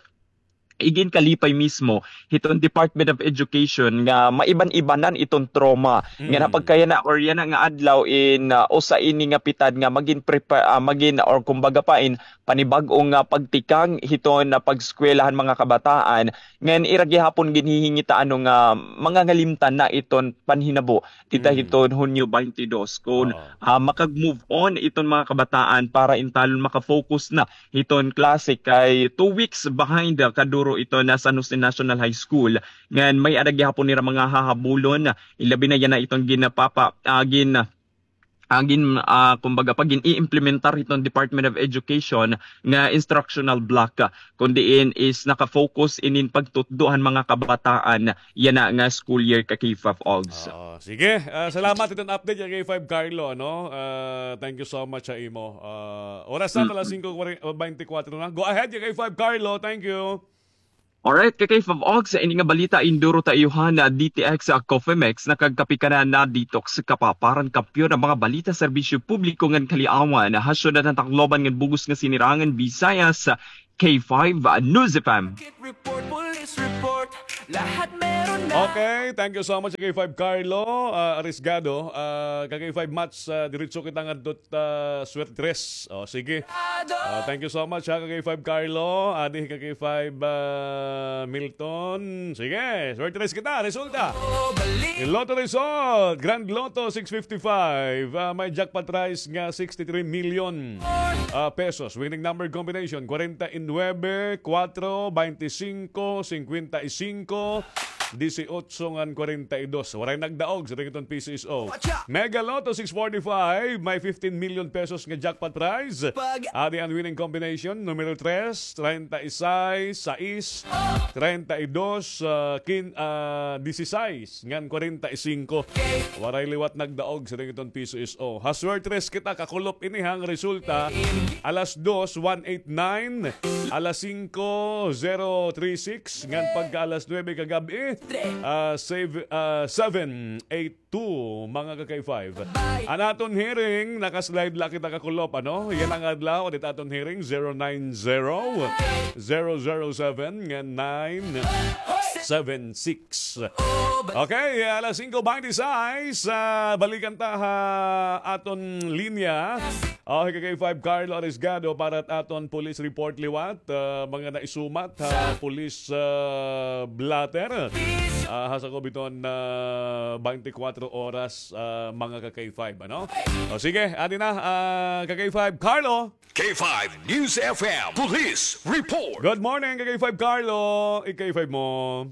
iginkalipay mismo hiton Department of Education nga maiban-ibanan iton trauma. Nga napagkayana or yana nga adlaw in, ah, usa ini nga pitad nga magin prepa-, ah, magin or kumbaga pa in panibag-o nga pagtikang hiton, ah, pag-eskwela han mga kabataan. Ngan ira gihapon ginhihingita ano nga mangangalimtan na iton panhinabo dida hiton Hunyo twenty-two kun, ah, makag-move on iton mga kabataan para in talon maka-focus na hiton klase kay two weeks behind, ah, kaduro iton San Jose National High School. Ngan may-ada gihapon nira mga hahabulon, ilabi na yana iton ginapapa-, ah, gin-, ah, gin-, ah, kumbaga pa gin-i-implementar hiton Department of Education nga instructional block, ah, kun diin is naka-focus inin pagtutdo han mga kabataan yana nga school year ka K five Ogs. Oo, sige. Ah, salamat iton update ka K five Carlo, no? Ah, thank you so much ha imo. Ah, oras na, alas singko twenty-four na. Go ahead, ka K five Carlo. Thank you. Alright, ka K five Ogs, ini nga balita induro ta iyo han D T X, ah, Coffee Mix, nakagkape ka na, na-detox ka pa. Para han kampiyon nga mga balita, serbisyo publiko ngan kaliawan ha syudad han Tacloban ngan bug-os nga Sinirangan Visayas, K five, ah, News F M. Okay, thank you so much, K five Carlo, ah, Arisgado. Ah, ka K five Mats, ah, diretso kita ngadto, ah, Suertres. O, sige. Ah, thank you so much, ha, ka K five Carlo. Adi ka K five, ah, Milton. Sige, Suertres kita. Resulta. Lotto result, Grand Lotto six fifty-five. Ah, may jackpot prize nga sixty-three million, ah, pesos. Winning number combination, kwarenta y nuebe, kwatro, baynte singko, singkwenta y singko, disiotso ngan kwarenta y dos. Waray nagdaog sa tington P C S O. Mega Lotto six forty-five, may fifteen million pesos nga jackpot prize. Adi an winning combination, numero tres, treinta y seis, sais, treinta y dos, ah, quin-, ah, dieciséis, ngan kwarenta y singko. Waray liwat nagdaog sa tington P C S O. Ha Suertres kita, kakulop ini han resulta. Alas dos, one eight nine. Alas singko, zero three six. Ngan pagka alas nuebe kagab-i, ah, save, ah, seven eight two, mga ka K five. An aton hearing, naka-slide la kita kakulop, ano? Yana nga adlaw, adit aton hearing, zero nine zero, zero zero seven, ngan nine seven six. Okay, alas singko baynte sais, ah, balikan ta ha aton linya. Okay, ka K five Carlo Arisgado para ha aton police report liwat. Ah, mga naisumat ha police, ah, blotter. Ah, ha sakob hiton, ah, baynte kwatro oras, ah, mga ka K five, ano? O sige, adi na, ah, ka K five Carlo. K five News F M Police Report. Good morning, ka K five Carlo. I-K five mo.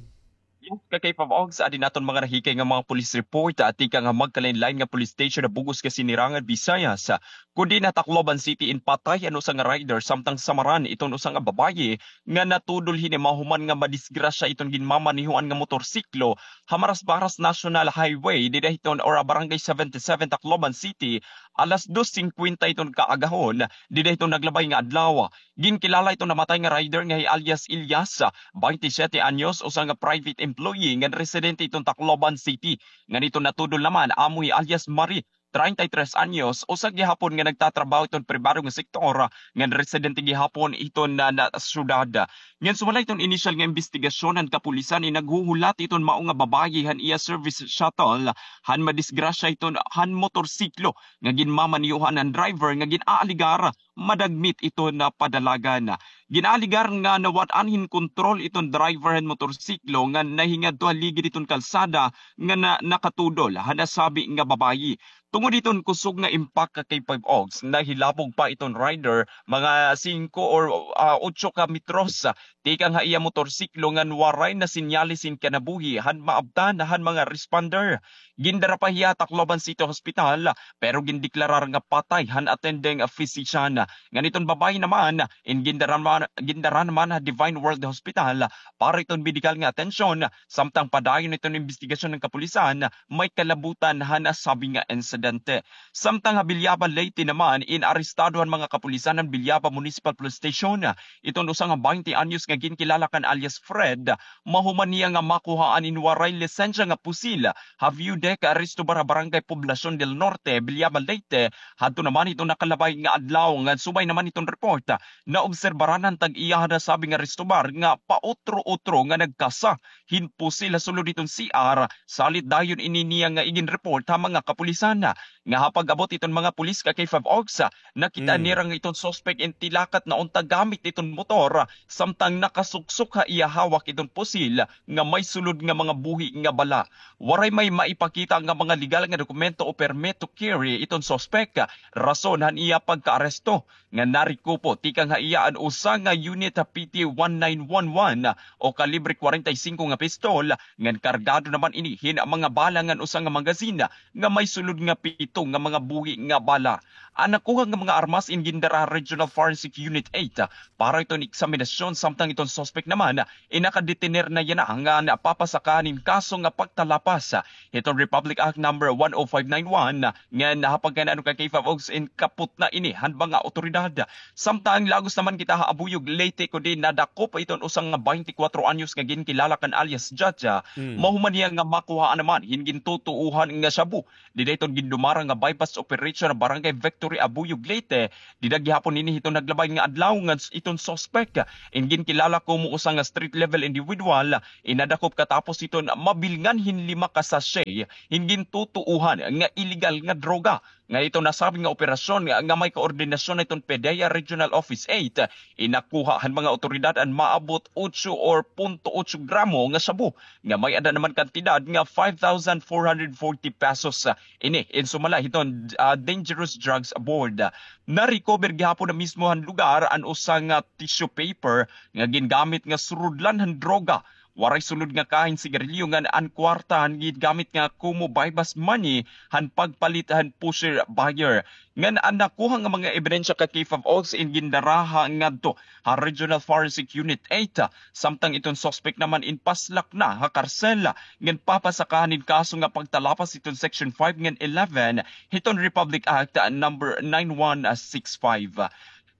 Yes, ka K five Ogs, adi naton mga nahikay nga mga police report, ah, tikang ha magkalain-lain nga police station ha bug-os nga Sinirangan Visayas. Kundi ha Tacloban City in patay an usa nga rider samtang samaran iton usa nga babaye nga natudol hini mahuman nga madisgrasya iton ginmamanehoan nga motorsiklo ha Marasbaras National Highway dida hiton or Barangay seventy-seven, Tacloban City, alas dos singkwenta iton kaagahon dida hiton naglabay nga adlaw. Ginkilala iton namatay nga rider nga hi alias Elias, baynte siyete anyos, usa nga private employee ngan residente iton Tacloban City. Ngan iton natudol naman amo hi alias Marie, treinta y tres anyos, usa gihapon nga nagtatrabaho iton pribado nga sektor ngan residente gihapon iton na, na syudad. Ngan sumala iton inisyal nga imbestigasyon han kapulisan, in naghuhulat iton mao nga babaye han iya service shuttle han madisgrasya iton han motorsiklo nga ginmamanehoan han driver nga gin-aaligar madagmit iton padalagan. Gin-aaligar nga nawad-an hin kontrol iton driver han motorsiklo nga nahingadto ha ligid hiton kalsada nga na-, nakatudol ha nasabi nga babaye. Tungod hiton kusog nga impact ka K five Ogs, nahilabog pa iton rider mga singko or, ah, otso ka metros, ah, tikang ha iya motorsiklo ngan waray na senyales hin kinabuhi han maabtan han mga responder. Gindara pa hiya ha Tacloban City Hospital, pero gindeklarar nga patay han attending physician. Ngan iton babaye naman, in gindara naman, gindara naman ha Divine World Hospital para iton medikal nga atensyon, samtang padayon iton imbestigasyon han kapulisan, may kalabutan han nasabi nga insidente. Samtang ha Villaba, Leyte naman, inarestado han mga kapulisan han Villaba Municipal Police Station iton usa nga baynte anyos nga ginkilala kan alias Fred, mahuman niya nga makuhaan in waray lisensya nga pusil ha Viewdeck Resto Bar ha Barangay Poblacion del Norte, Villaba, Leyte, hadto naman hiton nakalabay nga adlaw, ngan subay naman hiton report, naobserbaran han tag-iya han nasabi nga resto bar nga pautro-utro nga nagkasa hin pusil ha sulod hiton C R, salit dayon ini niya nga iginreport ha mga kapulisan. Nga ha pag-abot hiton mga pulis ka K five Ogs, nakita nira nga iton suspek in tilakat na unta gamit hiton motor, samtang nakasuksok ha iya hawak hiton pusil nga may sulod nga mga buhi nga bala. Waray may maipakita nga mga legal nga dokumento o permit to carry iton suspek, rason han iya pagkaaresto. Nga narekupo tikang ha iya an usa nga unit ha P T one nine one one o kalibre kwarenta y singko nga pistol, ngan kargado naman ini hin mga bala ngan usa nga magazine nga may sulod nga pito nga mga buhi nga bala. An nakuha nga mga armas in gindara ha Regional Forensic Unit eight para iton eksaminasyon, samtang iton suspek naman in nakadetener na yana ngan papasakahan hin kaso nga pagtalapas hiton Republic Act number one oh five nine one, ngan ha pagkainan kan K five Ogs in kapot na ini han mga awtoridad. Samtang lagos naman kita ha Abuyog, Leyte, kundi nadakop iton usa nga baynte kwatro anyos nga ginkilala kan alias Jaja, mahuman niya nga makuhaan naman hin gintutuohan nga shabu. Dida iton gindumara nga buy-bust operation ha Barangay Victory, Abuyog, Leyte. Dida gihapon ini hiton naglabay nga adlaw ngan iton suspek in ginkilala komo usa nga street level individual, in nadakop katapos hiton mabilngan hin lima ka sachet hin gintutuohan nga iligal nga droga. Ngan iton nasabi nga operasyon nga, nga may koordinasyon hiton PDEA Regional Office eight, in nakuha han mga awtoridad an maabot otso or punto otso gramo nga shabu nga may-ada naman kantidad nga five thousand four hundred forty pesos. Ini in sumala hiton, ah, dangerous drugs aboard. Na-recover gihapon na mismo han lugar an usa nga tissue paper nga gingamit nga surudlan han droga. Waray sulod nga kahin sigarilyo ngan an kwarta han gingamit nga komo buy-bust money han pagpalit han pusher buyer. Ngan an nakuha nga mga ebidensya ka K five Ogs in gindara ngadto ha Regional Forensic Unit eight, samtang iton suspek naman in paslak na ha karsel ngan papasakahan hin kaso nga pagtalapas hiton Section five ngan eleven hiton Republic Act number nine one six five.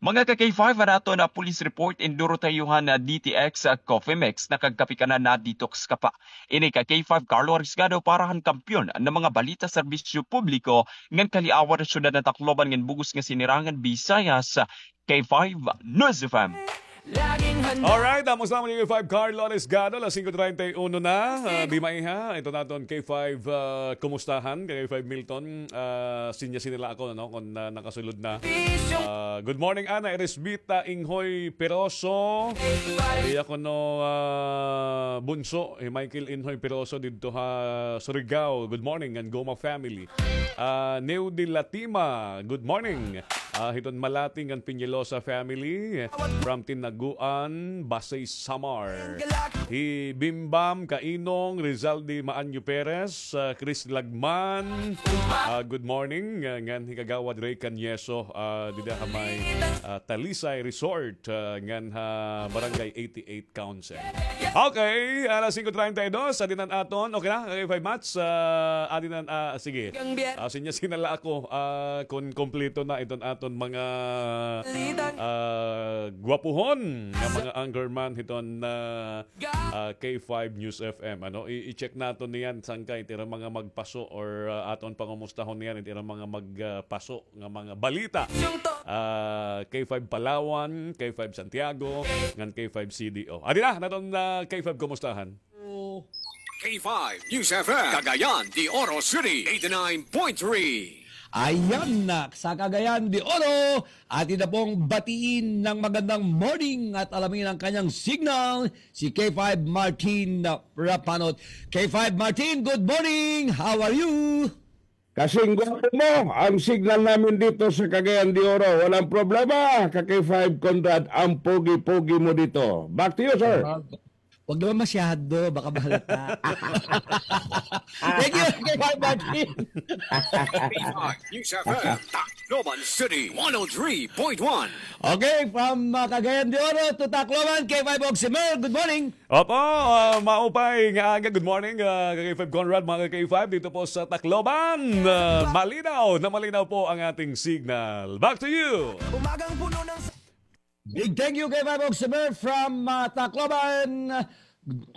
Mga ka K five, an aton nga police report, in duro ta iyo han D T X, ah, Coffee Mix, nakagkape ka na, na-detox ka pa. Ini ka K five Carlo Arisgado para han kampiyon nga mga balita, serbisyo publiko, ngan kaliawan han syudad han Tacloban ngan bug-os nga sinirangan Visayas, K five News F M. Alright, amo sa amon K five Carlo Arisgado, alas singko treinta y uno na. Ah, di maiha, ito naton K five, ah, kumustahan, K five Milton. Ah, sinya sinila ako, no, kon, ah, nakasulod na. Ah, good morning, Ana Eresbita Inghoy Peroso. Iya kuno, ah, Bunso, eh, Michael Inghoy Peroso didto ha Surigao. Good morning, ngan Goma family. Ah, Neo de Latima, good morning. Ah, hiton Malati ngan Peñalosa family from Tinaguan, Basey, Samar. Hi Bimbam Kainong, Rizaldi Maanyo Perez, ah, Chris Lagman. Ah, good morning. Ah, ngan hi Kagawad Ray Cañeso, ah, dida ha may, ah, Talisay Resort, ah, ngan ha Barangay eighty-eight Council. Okay, alas singko treinta y dos, adi na an aton. Okay na, K five Mats, ah, adi na an, ah, sige. Ah, sinya sinala ako, ah, kon kompleto na iton aton mga, ah, gwapuhon nga mga anchorman hiton, ah, ah, K five News F M. Ano, i-, i-check naton niyan, sangkay, it ira mga magpaso or, ah, aton pangumustahon niyan, it ira mga mag, ah, paso nga mga balita. Ah, K five Palawan, K five Santiago, ngan K five C D O. Adi na, naton, ah, K five kumustahan. K five News F M, Cagayan de Oro City, eighty-nine point three. Ayan na, sa Cagayan de Oro, atin na pong batiin ng magandang morning at alamin ang kanyang signal, si K five Martin Rapanot. K five Martin, good morning! How are you? Kasing gwapo mo ang signal namin dito sa Cagayan de Oro. Walang problema, ka K five Conrad, ang pogi-pogi mo dito. Back to you, sir. Ah, wag naman masyado, baka mahalata. Thank you, K five Martin. K five News F M, Tacloban City, one oh three point one. Okay, from, uh, Cagayan de Oro to Tacloban, K five Oximer, good morning. Opo, ah, maupay nga aga. Good morning, ah, ka K five Conrad, mga ka K five, dito po sa Tacloban. Ah, malinaw na malinaw po ang ating signal. Back to you. Big thank you, K five Oximer from, ah, Tacloban.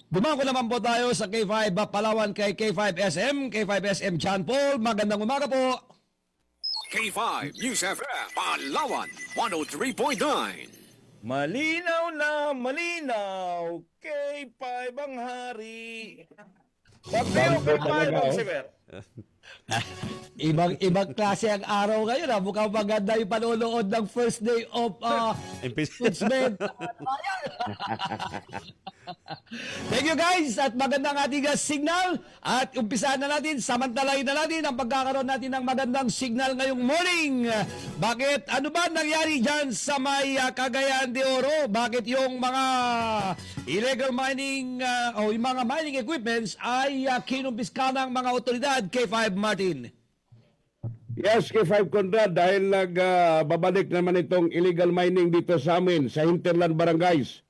Dumako naman po tayo sa K five, ah, Palawan kay K five S M, K five S M John Paul. Magandang umaga po. K five News F M, Palawan, one oh three point nine. Malinaw na malinaw, K five ang hari. Pag K five ang siber. Ibang, ibang klase ang araw ngayon, ha. Mukhang maganda yung panonood ng first day of, ah, Impis- announcement. Thank you, guys, at magandang ating, ah, signal. At umpisahan na natin, samantalahin na natin ang pagkakaroon natin ng magandang signal ngayong morning. Bakit? Ano ba nangyari dyan sa may, ah, Cagayan de Oro? Bakit yung mga illegal mining, ah, o yung mga mining equipments ay, ah, kinumpiska ng mga otoridad, K five Martin? Yes, K five Conrad, dahil nag, ah, babalik naman itong illegal mining dito sa amin, sa hinterland barangays.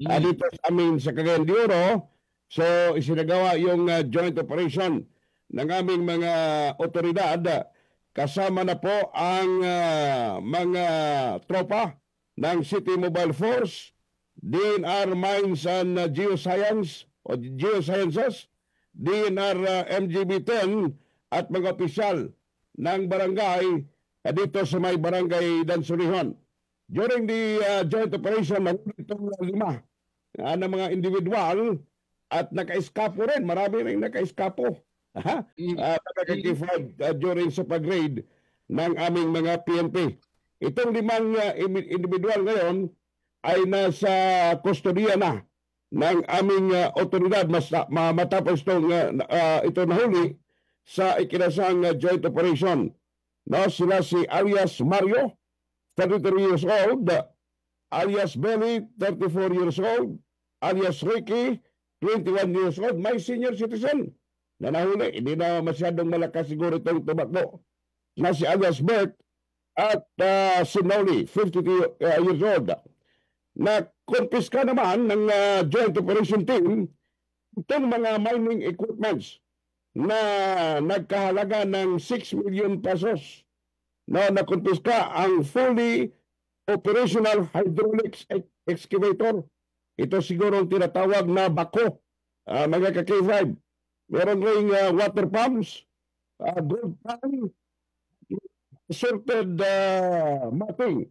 Ah, dito sa amin sa Cagayan de Oro. So, isinagawa yung, ah, joint operation ng aming mga otoridad, ah, kasama na po ang, ah, mga tropa ng City Mobile Force, D N R Mines and, ah, Geoscience o Geosciences, D N R, ah, M G B ten at mga opisyal ng barangay, ah, dito sa may Barangay Dansulihon. During the, ah, joint operation, nahuli itong lima, ah, na mga individual at nakaeskapo rin. Marami rin nakaeskapo. Ha? Ah, mga ka-K five, ah, during sa pag-raid ng aming mga P N P. Itong limang, ah, imi-, individual ngayon ay nasa kustodiya na ng aming, ah, otoridad. Mas, ma-, matapos itong, ah, na-, ah, ito nahuli sa ikinasang, ah, joint operation. No, sila si alias Mario, thirty-three years old, alias Belly, thirty-four years old, alias Ricky, twenty-one years old, may senior citizen na nahuli. Hindi na masyadong malakas siguro itong tumakbo, na si alias Bert at, ah, si Noli, fifty-two, ah, years old. Nakumpiska naman ng, ah, Joint Operation Team itong mga mining equipments na nagkahalaga ng six million pesos. No, nakumpiska ang fully operational hydraulics ex-, excavator. Ito siguro ang tinatawag na backhoe, ah, mga ka-K five. Meron ring, ah, water pumps, ah, gold pan, sorted, ah, mapping,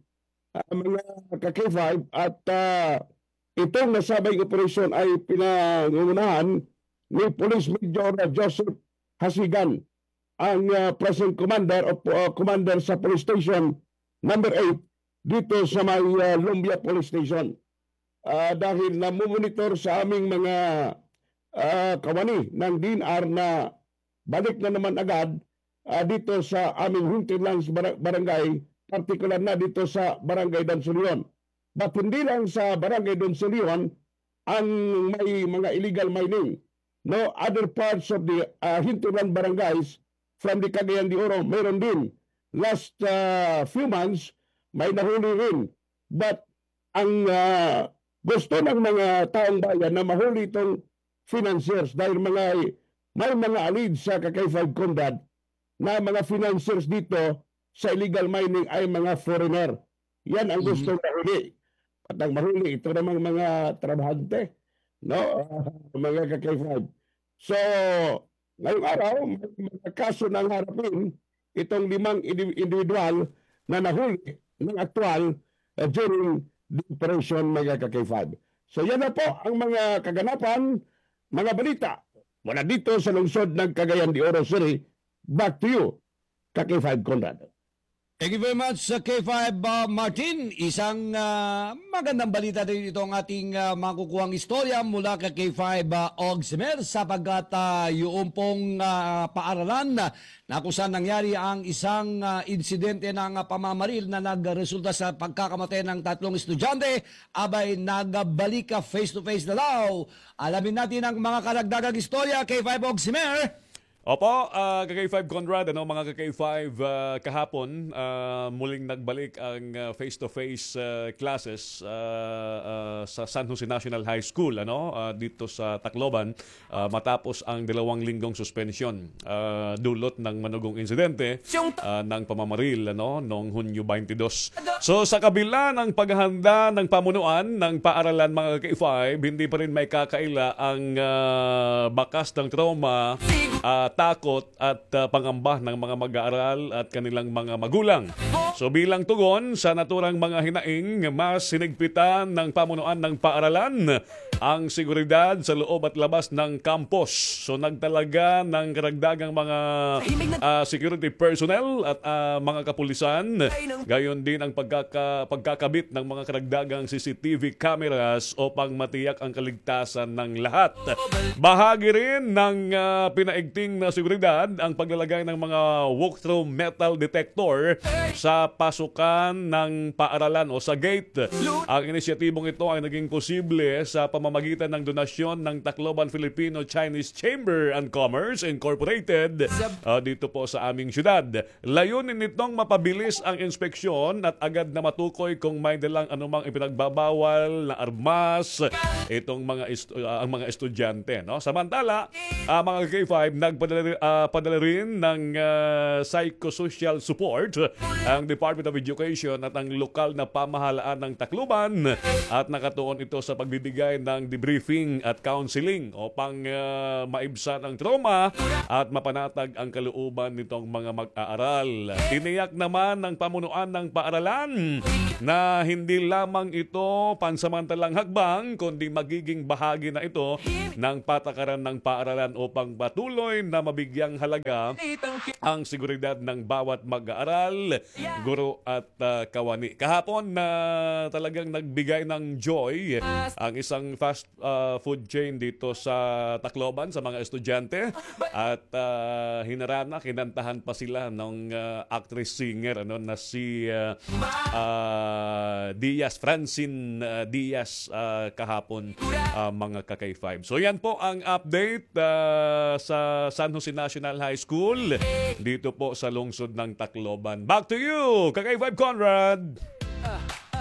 ah, mga ka-K five, at, ah, itong nasabing operasyon ay pinangungunahan ni Police Major Joseph Hasigan, ang, ah, present commander o, ah, commander sa Police Station Number Eight dito sa may, ah, Lumbia Police Station. Ah, dahil namomonitor sa aming mga, ah, kawani ng D N R na balik na naman agad, ah, dito sa aming hinterlands bara-, barangay, partikular na dito sa Barangay Dansulion. But hindi lang sa Barangay Dansulion ang may mga illegal mining. No, other parts of the, ah, hinterland barangays from the Cagayan de Oro, meron din. Last, ah, few months, may nahuli rin. But ang, ah, gusto ng mga taong bayan na mahuli itong financiers dahil mga, may mga alleged sa ka-K five Conrad na mga financiers dito sa illegal mining ay mga foreigner. Yan ang gusto mahuli. At ang mahuli, ito namang mga trabahante, no? Mga ka-K five. So, ngayong araw, may mga kaso na ang harapin itong limang indi-, individual na nahuli ng aktual, uh, during the operation, mga ka-K five. So, yan na po ang mga kaganapan, mga balita mula dito sa lungsod ng Cagayan de Oro City. Back to you, ka-K five Conrad. Thank you very much, uh, K five, uh, Martin. Isang, uh, magandang balita din itong ating, uh, makukuhang istorya mula kay K five, uh, Ogsimer, sapagkat, uh, yung pong, uh, paaralan na kung saan nangyari ang isang, uh, insidente ng, uh, pamamaril na nagresulta sa pagkakamatay ng tatlong estudyante, abay nagbalik ka face to face na daw. Alamin natin ang mga karagdagang istorya, K five Ogsimer. Opo, ah, ka K five Conrad, ano, mga ka K five, ah, kahapon, ah, muling nagbalik ang, ah, face-to-face, ah, classes, ah, ah, sa San Jose National High School, ano, ah, dito sa Tacloban, ah, matapos ang dalawang linggong suspensyon, ah, dulot ng manugong insidente, ah, ng pamamaril, ano, noong Hunyo twenty-two. So, sa kabila ng paghahanda ng pamunuan ng paaralan, mga ka K five, hindi pa rin maikakaila ang, ah, bakas ng trauma, ah, takot at, ah, pangamba ng mga mag-aaral at kanilang mga magulang. So, bilang tugon sa naturang mga hinaing, mas hinigpitan ng pamunuan ng paaralan ang seguridad sa loob at labas ng campus. So, nagtalaga ng karagdagang mga, ah, security personnel at, ah, mga kapulisan. Gayon din ang pagkaka-, pagkakabit ng mga karagdagang C C T V cameras upang matiyak ang kaligtasan ng lahat. Bahagi rin ng, ah, pinaigting na seguridad ang paglalagay ng mga walk-through metal detector sa pasukan ng paaralan o sa gate. Ang inisyatibong ito ay naging posible sa pamamagitan ng donasyon ng Tacloban Filipino-Chinese Chamber and Commerce Incorporated, ah, dito po sa aming syudad. Layunin nitong mapabilis ang inspeksyon at agad na matukoy kung may dalang anumang ipinagbabawal na armas itong mga estu-, ah, ang mga estudyante, no? Samantala, ah, mga K five, nagpadala ri-, ah, padala rin ng, ah, psychosocial support ang Department of Education at ang lokal na pamahalaan ng Tacloban at nakatuon ito sa pagbibigay ng debriefing at counseling upang, ah, maibsan ang trauma at mapanatag ang kalooban nitong mga mag-aaral. Tiniyak naman ng pamunuan ng paaralan na hindi lamang ito pansamantalang hakbang, kundi magiging bahagi na ito ng patakaran ng paaralan upang patuloy na mabigyang halaga ang seguridad ng bawat mag-aaral, guro at, ah, kawani. Kahapon na talagang nagbigay ng joy ang isang fast, ah, food chain dito sa Tacloban sa mga estudyante. At, ah, hinarana, kinantahan pa sila ng, ah, actress singer, ano, na si, ah, ah, Diaz, Francine, ah, Diaz, ah, kahapon, ah, mga ka K five. So yan po ang update, ah, sa San Jose National High School dito po sa lungsod ng Tacloban. Back to you, ka K five Conrad.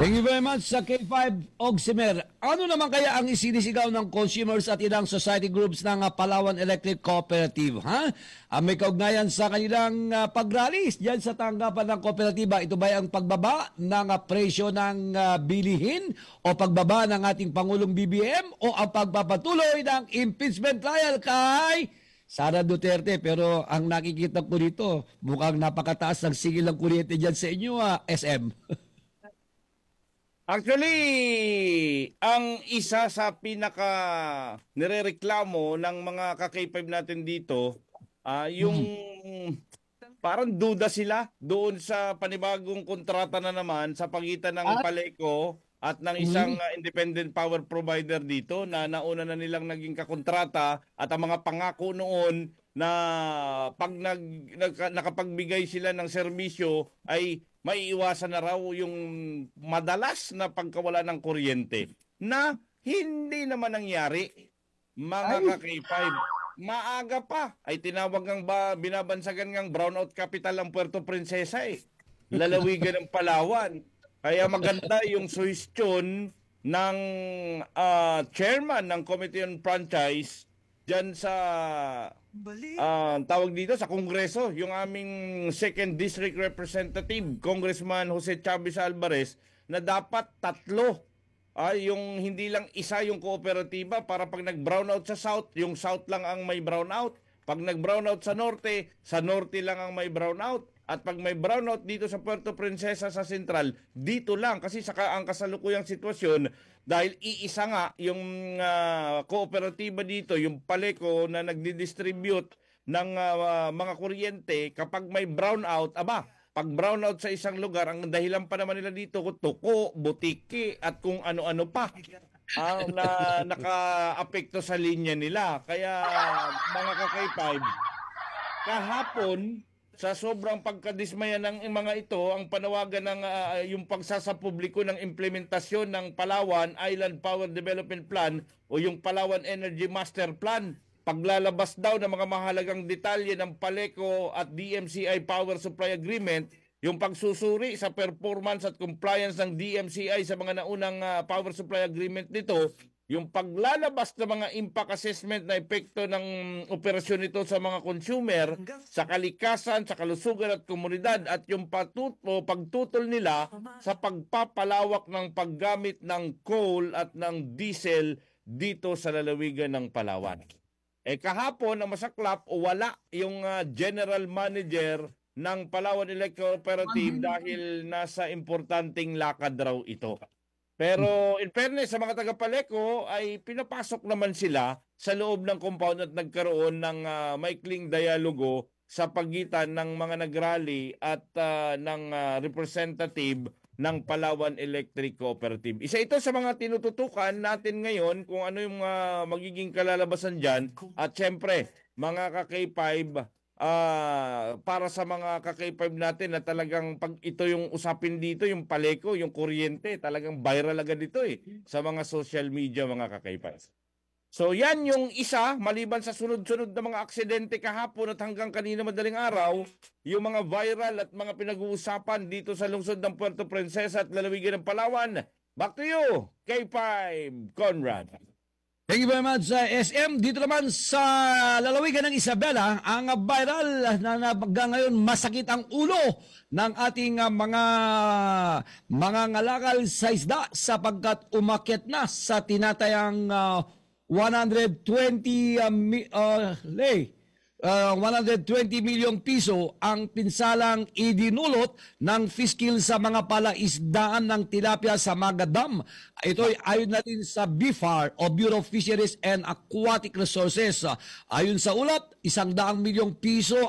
Thank you very much sa K five Ogsimer. Ano naman kaya ang isinisigaw ng consumers at ilang society groups ng, ah, Palawan Electric Cooperative, ha? Ah, may kaugnayan sa kanilang, ah, pag-rally diyan sa tanggapan ng kooperatiba. Ito ba ang pagbaba ng, ah, presyo ng, ah, bilihin o pagbaba ng ating Pangulong B B M o ang pagpapatuloy ng impeachment trial kay Sara Duterte? Pero ang nakikita ko dito, mukhang napakataas ng singil ng kuryente diyan sa inyo, ah, S M. Actually, ang isa sa pinaka nirereklamo ng mga ka-K five natin dito, ah, yung Mm. parang duda sila doon sa panibagong kontrata na naman sa pagitan ng Ah. Paleco at ng isang, Mm. ah, independent power provider dito na nauna na nilang naging kakontrata at ang mga pangako noon na pag nag-, nagka-, nakapagbigay sila ng serbisyo ay maiiwasan na raw yung madalas na pagkawala ng kuryente na hindi naman nangyari, mga Ay. ka-K five. Maaga pa ay tinawag ng ba-, binabansagan ngang brownout capital ang Puerto Princesa eh. Lalawigan ng Palawan. Kaya maganda yung suhestyon ng, ah, chairman ng Committee on Franchise diyan sa, ah, tawag dito, sa Kongreso, yung aming second district representative, Congressman Jose Chavez Alvarez, na dapat tatlo, ah, yung hindi lang isa yung kooperatiba para pag nag-brownout sa South, yung South lang ang may brownout. Pag nag-brownout sa Norte, sa Norte lang ang may brownout. At pag may brownout dito sa Puerto Princesa sa Central, dito lang. Kasi sa ka-, ang kasalukuyang sitwasyon, dahil iisa nga yung, ah, kooperatiba dito, yung Paleco na nagdi-distribute ng, ah, mga kuryente, kapag may brownout, aba, pag-brownout sa isang lugar, ang dahilan pa naman nila dito, tuko, butiki, at kung ano-ano pa ang na, nakaapekto sa linya nila. Kaya, mga ka-K five, kahapon, sa sobrang pagkadismaya ng mga ito, ang panawagan ng, ah, yung pagsasapubliko ng implementasyon ng Palawan Island Power Development Plan o yung Palawan Energy Master Plan. Paglalabas daw ng mga mahalagang detalye ng PALECO at D M C I Power Supply Agreement, yung pagsusuri sa performance at compliance ng D M C I sa mga naunang, ah, power supply agreement nito, yung paglalabas ng mga impact assessment na epekto ng operasyon nito sa mga consumer, sa kalikasan, sa kalusugan at komunidad, at yung patut-, o pagtutol nila sa pagpapalawak ng paggamit ng coal at ng diesel dito sa lalawigan ng Palawan. Eh, kahapon, ang masaklap, wala yung, ah, general manager ng Palawan Electric Cooperative dahil nasa importanteng lakad raw ito. Pero in fairness sa mga taga-PALECO ay pinapasok naman sila sa loob ng compound at nagkaroon ng, ah, maikling dialogo sa pagitan ng mga nagrally at, ah, ng, ah, representative ng Palawan Electric Cooperative. Isa ito sa mga tinututukan natin ngayon kung ano yung, ah, magiging kalalabasan diyan. At siyempre, mga ka-K five, ah, para sa mga ka-K five natin na talagang pag ito yung usapin dito, yung PALECO, yung kuryente, talagang viral agad ito eh sa mga social media, mga ka-K five. So yan yung isa, maliban sa sunod-sunod na mga aksidente kahapon at hanggang kanina madaling araw, yung mga viral at mga pinag-uusapan dito sa lungsod ng Puerto Princesa at lalawigan ng Palawan. Back to you, K five, Conrad. Thank you very much, uh, S M. Dito naman sa lalawigan ng Isabela, ang viral na, na hanggang ngayon masakit ang ulo ng ating, uh, mga, mga ngalakal sa isda sapagkat umakyat na sa tinatayang, uh, one hundred twenty, uh, mi-, uh, le-, uh, one hundred twenty milyong piso ang pinsalang idinulot ng Fiskil sa mga palaisdaan ng tilapia sa Maga Dam. Ito'y ayon na din sa BFAR o Bureau of Fisheries and Aquatic Resources. Ayon sa ulat, isang daang milyong piso